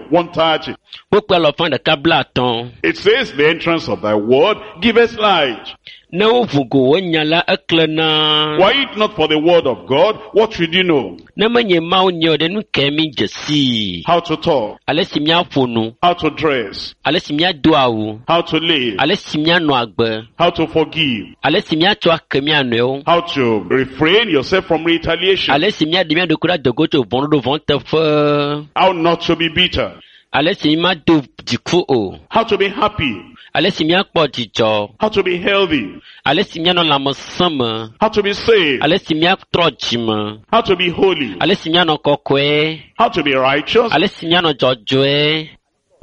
one thirty, Kpukpui alɔfa ɖeka bla atɔ̃. it says, the entrance of thy word giveth light. Ne woʋu go wò nya la eklẽna. Were it not for the word of God, what should you know? Ne menye Mawu nye o ɖe nu kae mi dze sii? How to talk, Ale si míaƒo nu, how to dress, ale si míado awu, how to live, ale si míanɔ agbe, how to forgive, ale si míatsɔ ake mía nɔewo, how to refrain yourself from retaliation, ale si míaɖe mía ɖokui ɖe adogo tso vɔ̃ɖoɖo vɔ̃ teƒe, how not to be bitter, ale si mímado dziku o, how to be happy, ale si míakpɔ dzidzɔ, how to be healthy, ale si míanɔ lãmesẽ me, how to be saved, ale si míatrɔ dzime, how to be holy, ale si míanɔ kɔkɔe, how to be righteous, ale si míanɔ dzɔdzɔe,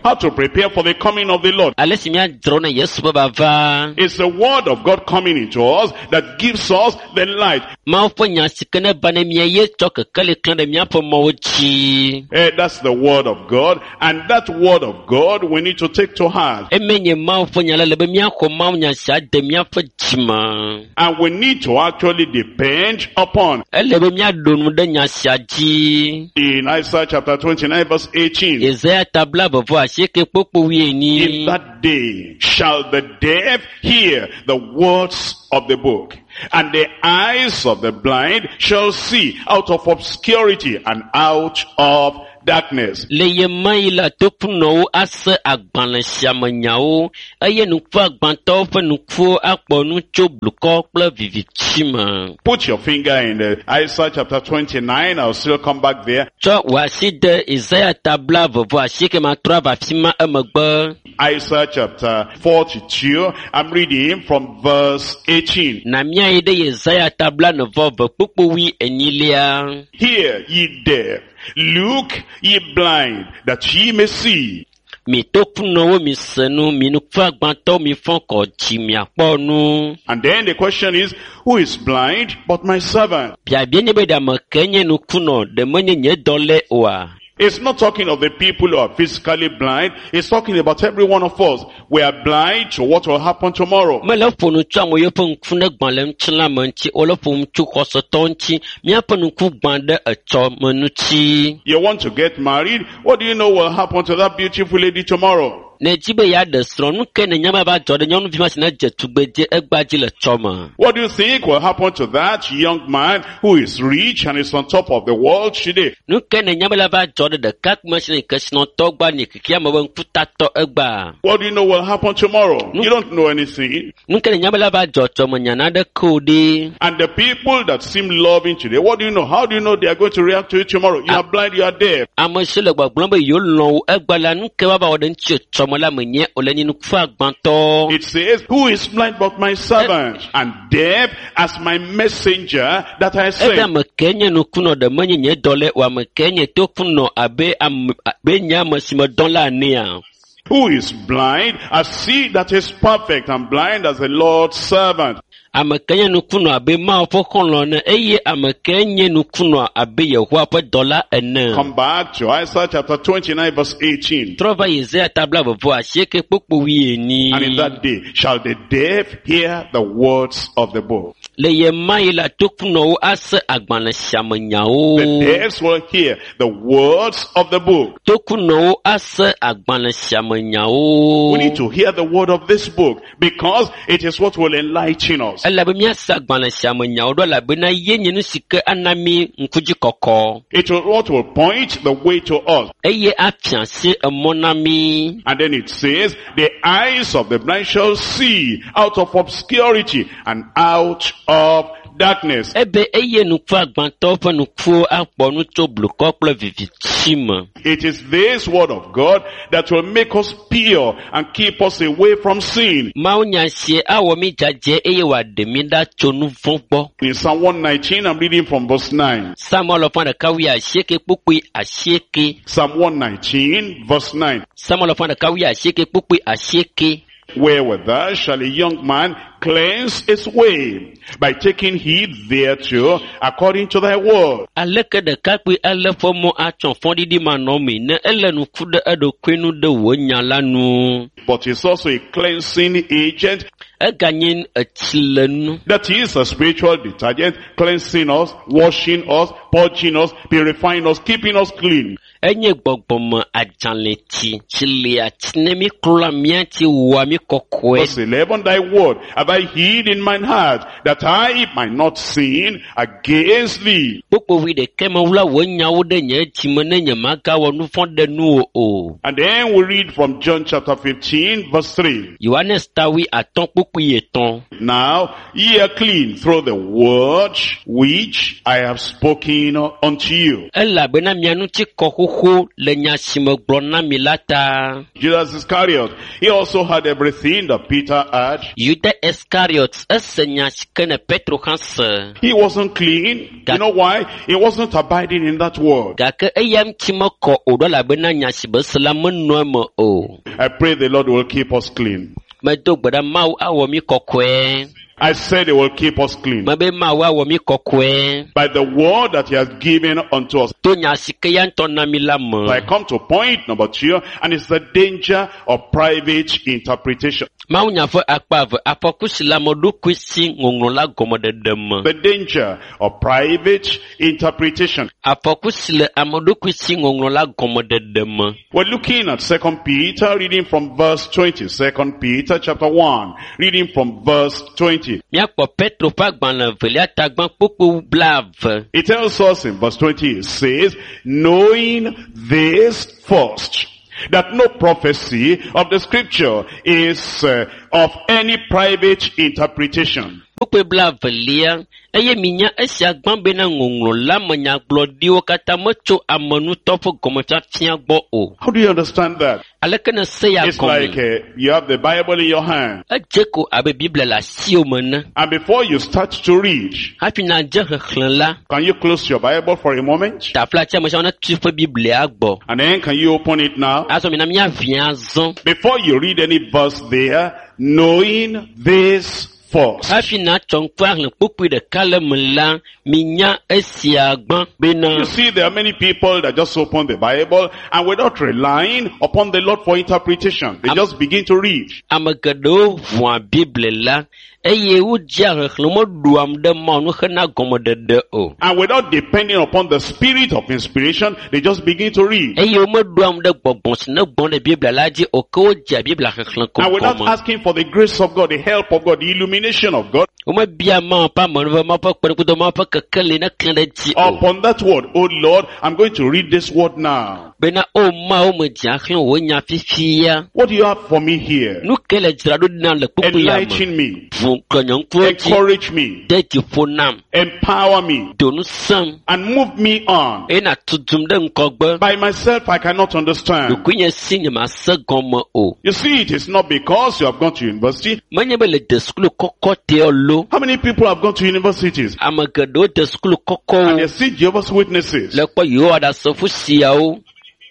how to prepare for the coming of the Lord. Ale si míadzra na Yesu ƒe vava. It's the word of God coming into us that gives us the light. Mawu ƒe nya si ke ne va ne mía ye tsɔ kekeli klẽ ɖe míaƒe mɔwo dzi. Eh, that's the word of God. And that word of God we need to take to heart. Eme nye Mawu ƒe nya la le be míaxɔ Mawu nya sia de míaƒe dzime. And we need to actually depend upon. Ele be míaɖo nu ɖe nya sia dzi. In Isaiah chapter twenty-nine verse eighteen. Yesaya ta blaeve vɔ asieke kpukpui wuienyi. In that day shall the deaf hear the words of the book, and the eyes of the blind shall see out of obscurity and out of darkness. Le ye ma yi la tokunɔwo ase agbalẽ sia me nyawo eye ŋkuagbãtɔwo ƒe ŋkuwo akpɔ nu tso blukɔ kple viviti me. Put your finger in the Isaiah chapter twenty-nine. I'll still come back there. Tsɔ wò asi de Isaya ta blaeve vɔ asieke matrɔ ava afi ma emegbe. Isaiah chapter forty-two. I'm reading from verse eighteen. Na míayi ɖe Yesaya ta blaene vɔ eve kpukpui wui enyilia. Hear ye deaf, look ye blind, that ye may see. Mi tokunɔwo mi se nu, mi ŋkuagbãtɔwo mi fɔ kɔ dzi miakpɔ nu. And then the question is, who is blind but my servant? Biabia nye be ɖe ame ke nye ŋkunɔ ɖe menye nye dɔlae oa? It's not talking of the people who are physically blind. It's talking about every one of us. We are blind to what will happen tomorrow. Mele ƒo nu tso ame yiwo ƒe ŋku ne gbã le ŋutilã me ŋuti, wole ƒo nu tso xɔsetɔwo ŋuti. Míaƒe ŋku gbã ɖe etsɔ me ŋuti. You want to get married? What do you know will happen to that beautiful lady tomorrow? Ne edzi be yeaɖe srɔ̃, nu ke nènya be ava dzɔ ɖe nyɔnuvi ma si ne dze tugbedze egbea dzi le tsɔme? What do you think will happen to that young man who is rich and is on top of the world today? Nu ke nènya be la va dzɔ ɖe ɖekakpui ma si ne kesinɔtɔ gba nye xexea me be ŋkutatɔ egbea? What do you know will happen tomorrow? You don't know anything. Nu ke nènya be la va dzɔ tsɔme nya naɖeke o ɖe? And the people that seem loving today, what do you know? How do you know they are going to react to it tomorrow? You are blind, you are deaf. Ame siwo le gbɔgblɔm be yewo lɔ̃ wò egbea la, nu ke woava wɔ ɖe ŋuti tsɔme la menye o le nye ŋkuagbãtɔ. It says, who is blind but my servant, and deaf as my messenger that I Ebe sent? Ame ke nye ŋkunɔ ɖe menye nye dɔlae o, ame ke nye tokunɔ abe ame abe nye ame si medɔ la enea? Who is blind as he that is perfect, and blind as the Lord's servant? Ame ke nye ŋkunɔ abe Mawu ƒe xɔlɔ̃ ene eye ame ke nye ŋkunɔ abe Yehowa ƒe dɔla ene. Come back to Isaiah chapter twenty-nine verse eighteen. Trɔ va Yesaya ta blaeve vɔ asieke kpukpui wuienyi. And in that day shall the deaf hear the words of the book. Le ye ma yi la tokunɔwo ase agbalẽ sia me nyawo. The deaf will hear the words of the book. Tokunɔwo ase agbalẽ sia me nyawo. We need to hear the word of this book because it is what will enlighten us. Elabe míase agbalẽ sia me nyawo ɖo elabena ye nye nu si ke ana mí ŋkudzi kɔkɔ. It will what will point the way to us. Eye afia asi emɔ na mí. And then it says, the eyes of the blind shall see out of obscurity and out of darkness. Ebe eye ŋkuagbãtɔwo ƒe ŋkuwo akpɔ nu tso blukɔ kple viviti me. It is this word of God that will make us pure and keep us away from sin. Mawu nya sie awɔ mí dzadzɛ eye wòaɖe mí ɖa tso nu vɔ̃ gbɔ. In Psalm one nineteen, I'm reading from verse nine. Psalm alafa ɖeka wui asieke kpukpui asieke. Psalm one nineteen, verse nine. Psalm alafa ɖeka wui asieke kpukpui asieke. Wherewithal shall a young man cleanse his way by taking heed thereto according to thy word? Aleke ɖekakpui alé ƒe mɔ atsɔ fɔɖiɖi manɔmee ne ele ŋku ɖe eɖokui nu ɖe wò nya la nu. But it's also a cleansing agent. Eganye etsilenu. That is a spiritual detergent, cleansing us, washing us, purging us, purifying us, keeping us clean. Enye gbɔgbɔme adzalẽtsi tsi lia tsi ne mi klɔa mía ŋuti wɔa mí kɔkɔe. Verse eleven, thy word have I hid in mine heart, that I might not sin against thee. Kpukpui ɖekɛ mewla wò nyawo ɖe nye dzime ne nyemagawɔ nu vɔ̃ ɖe nuwò o. And then we read from John chapter fifteen, verse three. Yohanes ta wui atɔ̃ kpukpui etɔ̃. Now ye are clean through the word which I have spoken unto you. Elabena mia ŋuti kɔ xoxo le nya si megblɔ na mi la ta. Judas Iscariot, he also had everything that Peter had. Yuda Iskariot ese nya si ke ne Petro hã se. He wasn't clean. You know why? He wasn't abiding in that word. Gake eya ŋuti mekɔ o ɖo elabena nya si be se la menɔ eme o. I pray the Lord will keep us clean. Medo gbe ɖa Mawu awɔ mí kɔkɔe. I said he will keep us clean. Mebe Mawu awɔ mí kɔkɔe. By the word that he has given unto us. To nya si ke ya ŋutɔ na mí la me. I come to point number two, and it's the danger of private interpretation. Mawu nya ƒe akpa eve, afɔku si le ame ɖokui si ŋɔŋlɔ la gɔmeɖeɖe me. The danger of private interpretation. Afɔku si le ame ɖokui si ŋɔŋlɔ la gɔmeɖeɖe me. We're looking at Second Peter, reading from verse twenty. Second Peter chapter one, reading from verse twenty. Míakpɔ Petro ƒe agbalẽ evelia tagbã kpukpui blaeve. It tells us in verse twenty, it says, knowing this first, that no prophecy of the scripture is uh, of any private interpretation. Kpukpui blaevelia, eye minya esia gbã bena ŋɔŋlɔ la me nyagblɔɖiwo katã metso ame ŋutɔ ƒe gɔmefiafia gbɔ o. How do you understand that? Aleke ne se ya It's gɔme? like uh, you have the Bible in your hand, Edze ko abe Biblia le asiwò me ene. and before you start to read, Hafi nadze xexlẽ la, can you close your Bible for a moment? taflatse ame siawo netu eƒe Biblia gbɔ. And then can you open it now? Azɔ mina míavia azɔ. Before you read any verse there, knowing this first. Hafi natsɔ ŋku ahlẽ kpukpui ɖeka le me la, minya esia gbã bena You see, there are many people that just open the Bible and without relying upon the Lord for interpretation, they just begin to read. ame geɖewo ʋua Biblia la eye wodzea xexlẽ meɖoam ɖe Mawu nu hena gɔmeɖeɖe o. And without depending upon the spirit of inspiration, they just begin to read. Eye womeɖoam ɖe gbɔgbɔ si ne gbɔn ɖe Biblia la dzi o ke wodzea Biblia xexlẽ ko And without gɔme. asking for the grace of God, the help of God, the illumination of God, Womebia Mawu ƒe amenuveve, Mawu ƒe kpeɖeŋutɔ, Mawu ƒe kekeli ne klẽ ɖe edzi o. upon that word, oh Lord, I'm going to read this word now. Bena o Mawu medzea xlẽ wò nya fifia. What do you have for me here? Nu ke le dzra ɖo ɖi nam le kpukpui ya me? Enlighten me, Ʋu klɔ nye ŋkuwo dzi, encourage me, de dzi ƒo nam, empower me, do ŋusẽm and move me on. eye nàtu dum ɖe ŋgɔgbe. By myself, I cannot understand. Ɖokuinye si nyemase gɔme o. You see, it is not because you have gone to university. Menye be le de sukulu kɔkɔ teɔ lo. How many people have gone to universities? Ame geɖewo de sukulu And kɔkɔwo they see Jehovah's Witnesses. le kpɔ Yehowa Ɖasefo siawo.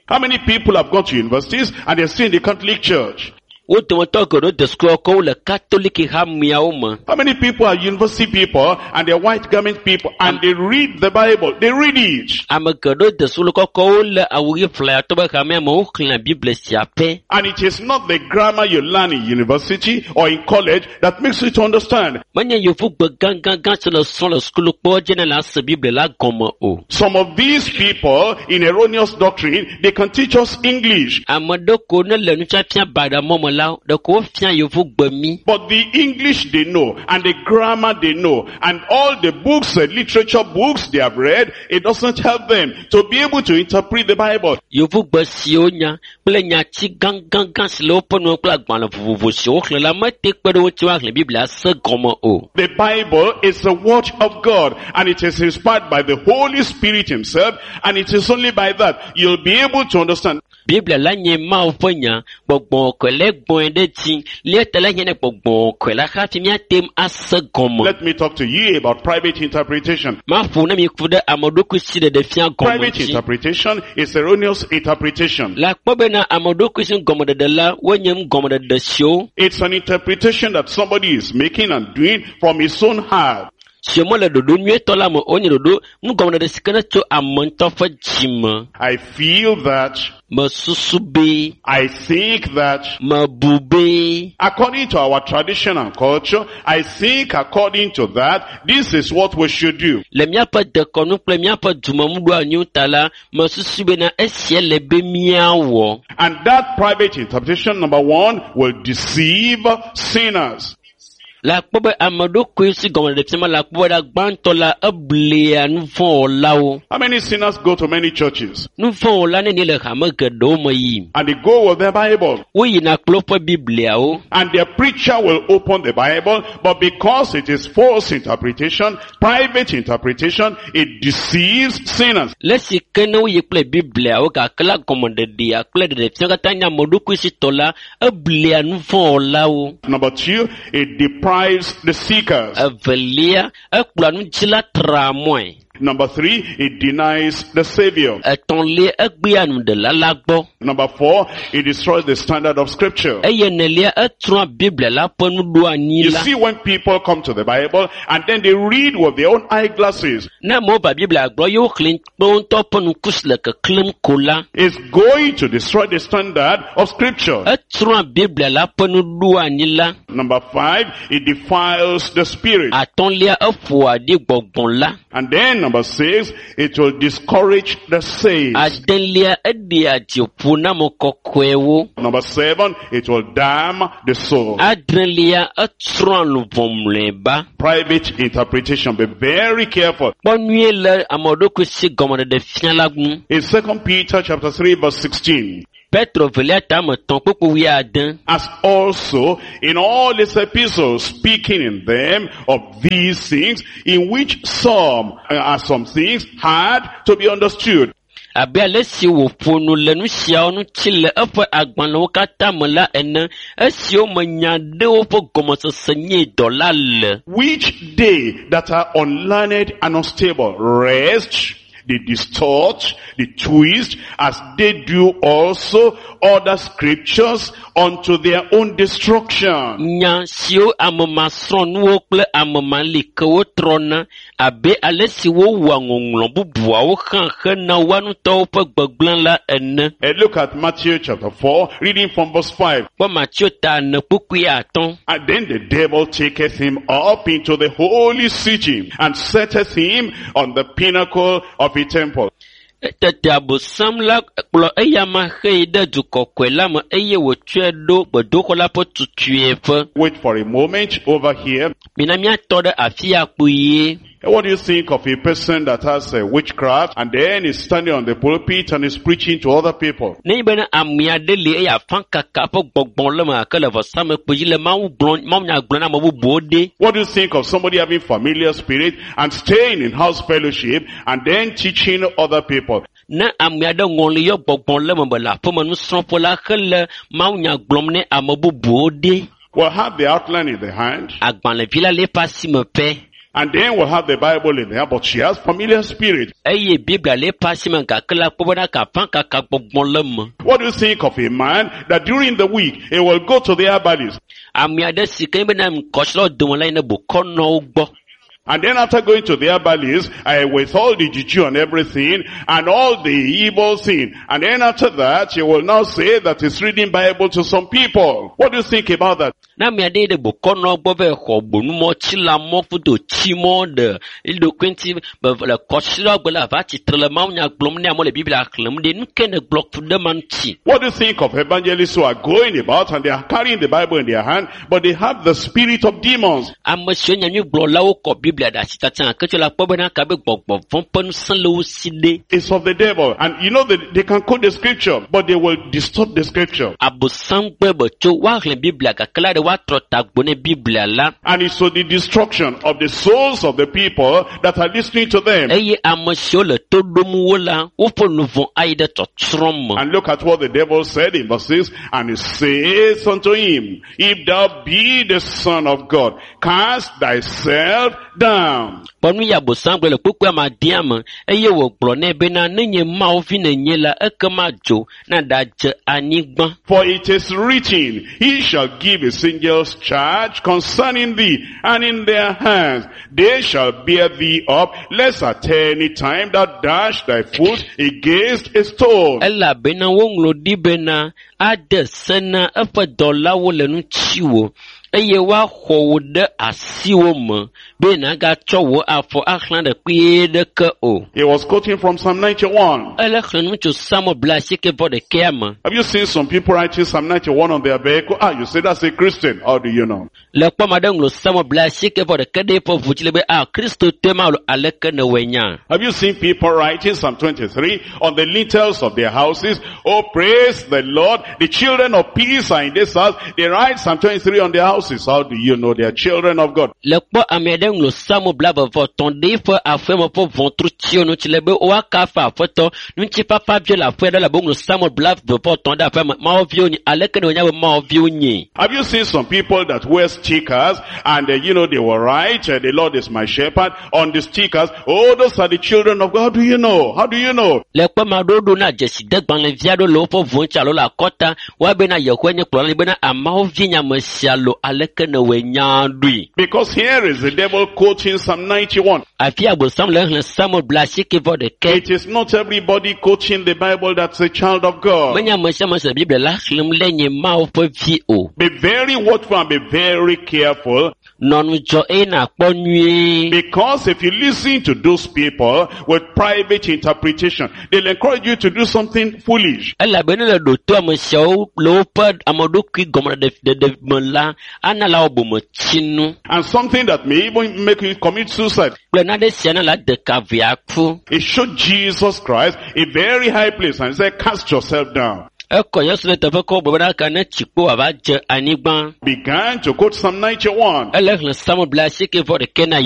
How many people have gone to universities and they're still in the Catholic Church? Wo dometɔ geɖewo de sukulu kɔkɔwo le Katoliki hameawo me. How many people are university people and they're white garment people and they read the Bible? They read it. Ame geɖewo de sukulu kɔkɔwo le awu ɣi ƒlayatɔ be hamea me woxlẽa Biblia sia pɛ. And it is not the grammar you learn in university or in college that makes you to understand. Menye yevugbe gãgãgã si le srɔ̃ le sukulu kpɔ dzi ne la se Biblia la gɔme o. Some of these people in erroneous doctrine, they can teach us English. Ame ɖe ko ne le nufiafia baɖa mɔ me la, ɖeko wofia yevugbe mí. But the English they know, and the grammar they know, and all the books, uh, literature books they have read, it doesn't help them to be able to interpret the Bible. Yevugbe siwo nya kple nyati gãgãgã si le woƒe nuwo kple agbalẽ vovovo siwo woxlẽ la mete kpe ɖe wo ŋuti woaxlẽ Biblia se gɔme o. The Bible is the word of God, and it is inspired by the Holy Spirit himself, and it is only by that you'll be able to understand. Biblia la nye Mawu ƒe nya. Gbɔgbɔ kɔkɔe la gbɔe ɖe dzi. Lia ta la hiã ne gbɔgbɔ kɔkɔe la hafi míate ŋu ase gɔme. Let me talk to you about private interpretation. Maƒo ne mi ku ɖe ame ɖokui si ɖeɖe fia gɔme Private dzi. interpretation is erroneous interpretation. Le akpɔ bena ame ɖokui si gɔmeɖeɖe la wonye gɔmeɖeɖe siwo It's an interpretation that somebody is making and doing from his own heart. siwo mele ɖoɖo nyuietɔ la me wonye ɖoɖo nugɔmeɖeɖe si ke ne tso ame ŋutɔ ƒe dzime. I feel that. Mesusu be, I think that. mebu be, According to our tradition and culture, I think according to that, this is what we should do. le míaƒe dekɔnu kple míaƒe dumenuɖoanyiwo ta la, mesusu bena esia le be míawɔ. And that private interpretation, number one, will deceive sinners. Le akpɔ be ame ɖokui si gɔmeɖeɖe fia ma le akpɔ be ɖa gbãtɔ la eblea nuvɔ̃wɔlawo. How many sinners go to many churches? Nuvɔ̃wɔla nenie le hame geɖewo me yim. And they go with their Bible. Woyina kple woƒe Bibliawo. And their preacher will open the Bible, but because it is false interpretation, private interpretation, it deceives sinners. Le esi ke ne woyi kple Bibliawo gake la gɔmeɖeɖea kple ɖeɖefia katã nye ame ɖokui si tɔ la, eblea nuvɔ̃wɔlawo. Number two, it deprives the seekers. Evelia, ekplɔa nudzila traa mɔe. Number three, it denies the Savior. Etɔ̃lia, egbea nuɖela la gbɔ. Number four, it destroys the standard of scripture. Eye enelia, etrɔa Biblia la ƒe nuɖoanyi You la. see when people come to the Bible and then they read with their own eyeglasses, Ne amewo va Biblia gblɔ ye woxlẽ kple wo ŋutɔ ƒe ŋku si le keklẽm ko la, it's going to destroy the standard of scripture. etrɔa Biblia la ƒe nuɖoanyi la. Number five, it defiles the spirit. Atɔ̃lia, eƒoa ɖi gbɔgbɔ la. And then number six, it will discourage the saints. Adelia, eɖea dziƒo na ame kɔkɔewo. Number seven, it will damn the soul. Adrelia, etsrɔ̃a luʋɔ mlɔeba. Private interpretation. Be very careful. Kpɔ nyuie le ame ɖokui si gɔmeɖeɖe fia la ŋu. In Second Peter chapter three verse sixteen, Petro velia tame etɔ̃ kpukpu wuiade. as also in all his epistles, speaking in them of these things, in which some uh, are some things hard to be understood. Abe ale si wòƒo nu le nu siawo ŋuti le eƒe agbalẽwo katã me la ene, esiwo me nya ɖewo ƒe gɔmesese nye dɔ la le. Which they that are unlearned and unstable rest, they distort, they twist, as they do also other scriptures unto their own destruction. Nya siwo ame masrɔ̃nuwo kple ame malikewo trɔna abe ale si wowɔa ŋɔŋlɔ bubuawo hã hena woa ŋutɔwo ƒe gbegblẽ la ene. And look at Matthew chapter four, reading from verse five. Kpɔ Mateo ta ene kpukpui atɔ̃. And then the devil taketh him up into the holy city and setteth him on the pinnacle of a temple. Tete abosam la kplɔ eyama hei ɖe du kɔkɔe la me eye wòtsɔe ɖo gbedoxɔ la ƒe tutueƒe. Wait for a moment over here. Mina míatɔ ɖe afi ya kpuie. What do you think of a person that has a witchcraft and then is standing on the pulpit and is preaching to other people? Nenye bena ame aɖe li eye afãkaka ƒe gbɔgbɔ le eme gake le vɔsamlekpui dzi le Mawu gblɔm mawunya gblɔm na ame bubuwo ɖe. What do you think of somebody having familiar spirit and staying in house fellowship and then teaching other people? Ne ame aɖe ŋɔli yɔ gbɔgbɔ le eme be le aƒeme nusrɔ̃ƒe la hele mawunya gblɔm ne ame bubuwo ɖe. We'll have the outline in the hand Agbalẽvi la le eƒe asime pɛ. and then we'll have the Bible in the hand, but she has familiar spirit. Eye Biblia le eƒe asime gake la kpɔ bena afãkaka gbɔgbɔ le eme. What do you think of a man that during the week he will go to the herbalist Ame aɖe si ke nye bena ŋkɔsilawo dome la yina bokɔnɔwo gbɔ. And then after going to the herbalist, uh, with all the juju and everything, and all the evil thing, and then after that, he will now say that he's reading Bible to some people. What do you think about that? Ne ame aɖe yi ɖe bokɔnɔ gbɔ va yi xɔ gbonumɔ, tsilamɔ, kudo tsimɔ ɖe eɖokui ŋuti be le kɔsilawo gbe la va tsitre le mawunya gblɔm ne amewo le Biblia xlẽm ɖe nu ke ne gblɔ ku ɖe ma ŋuti. What do you think of evangelists who are going about and they are carrying the Bible in their hand, but they have the spirit of demons? Ame siwo nyanyuigblɔlawo kɔ Biblia Biblia ɖe asi tsatsa gake tso la kpɔ bena kabe gbɔgbɔ vɔ̃ ƒe ŋusẽ le wo si ɖe. It's of the devil. And you know that they can quote the scripture, but they will distort the scripture. Abosam gbɔe be tso woaxlẽ Biblia gake la ɖe woatrɔ tagbo ne Biblia la. And it's to the destruction of the souls of the people that are listening to them. Eye ame siwo le to ɖom wo la, woƒe luʋɔ ayi ɖe tsɔtsrɔ̃ me. And look at what the devil said in verse six. And he says unto him, If thou be the Son of God, cast thyself down. Kpɔ nu yi abosam gblɔ le kpukpui ame adea me eye wògblɔ nɛ bena ne nye Mawu vi nènye la ekema dzo na ɖadze anyigba. For it is written, He shall give his angels charge concerning thee, and in their hands they shall bear thee up, lest at any time thou dash thy foot against a stone. Elabena woŋlɔ ɖi bena ade se na eƒe dɔlawo le ŋutiwò eye woaxɔ wò ɖe asiwò me be nàgatsɔ wò afɔ axlã ɖe kpuie ɖeke o. He was quoting from Psalm ninety-one. Ele xlẽ nu tso Psalmo blaasieke vɔ ɖekɛa me. Have you seen some people writing Psalm ninety-one on their vehicle? Ah, you say that's a Christian. How do you know? Le kpɔ ame aɖe ŋlɔ Psalmo blaasieke vɔ ɖeke ɖe eƒe ʋu dzi le be ah Kristotɔe ma alo aleke nèwɔe nya? Have you seen people writing Psalm twenty-three on the lintels of their houses? Oh, praise the Lord. The children of peace are in this house. They write Psalm twenty-three on their houses. How do you know they are children of God? Le kpɔ ame aɖe ŋlɔ Psalmo blaeve vɔ etɔ̃ ɖe eƒe aƒeme ƒe ʋɔtrutsiwo ŋuti le be woakafu Aƒetɔ. Ŋutifafa viwo le aƒea ɖe elabe woŋlɔ Psalmo blaeve vɔ etɔ̃ ɖe aƒea me. Mawu viwo nye. Aleke ne wonya be Mawu viwo nye? Have you seen some people that wear stickers and uh, you know they will write, uh, the Lord is my shepherd on the stickers? Oh, those are the children of God. How do you know? How do you know? Le kpɔ ame aɖewo ɖo na dzesidegbalẽvi aɖewo le woƒe ʋu ŋuti alo le akɔta. Woabena Yehowa nye kplɔla bena ameawo vi nye ame sia lo aleke nèwɔe nya ɖoe? Because here is the devil quoting Psalm ninety-one. Afi abosam le xlẽ Psalmo blaasieke vɔ ɖeke. It is not everybody quoting the Bible that's a child of God. Menye ame sia ame se Biblia la xlẽm le nye Mawu ƒe vi o. Be very watchful and be very careful. Nɔ ŋudzɔ eye nàkpɔ nyuie. Because if you listen to those people with private interpretation, they'll encourage you to do something foolish. Elabe ne le ɖo to ame siawo le woƒe ameɖokui gɔmeɖeɖe me la, ana la wɔ bometsinu. And something that may even make you commit suicide. Kple nane sia na la de ka vea ku. It showed Jesus Christ a very high place and said, cast yourself down. Ekɔ Yesu ɖe teƒe kɔ gblɔ bena ka ne tsikpo wòava dze anyigba. Began to quote Psalm ninety-one. Ele xlẽ Psalmo blaasieke vɔ ɖeke na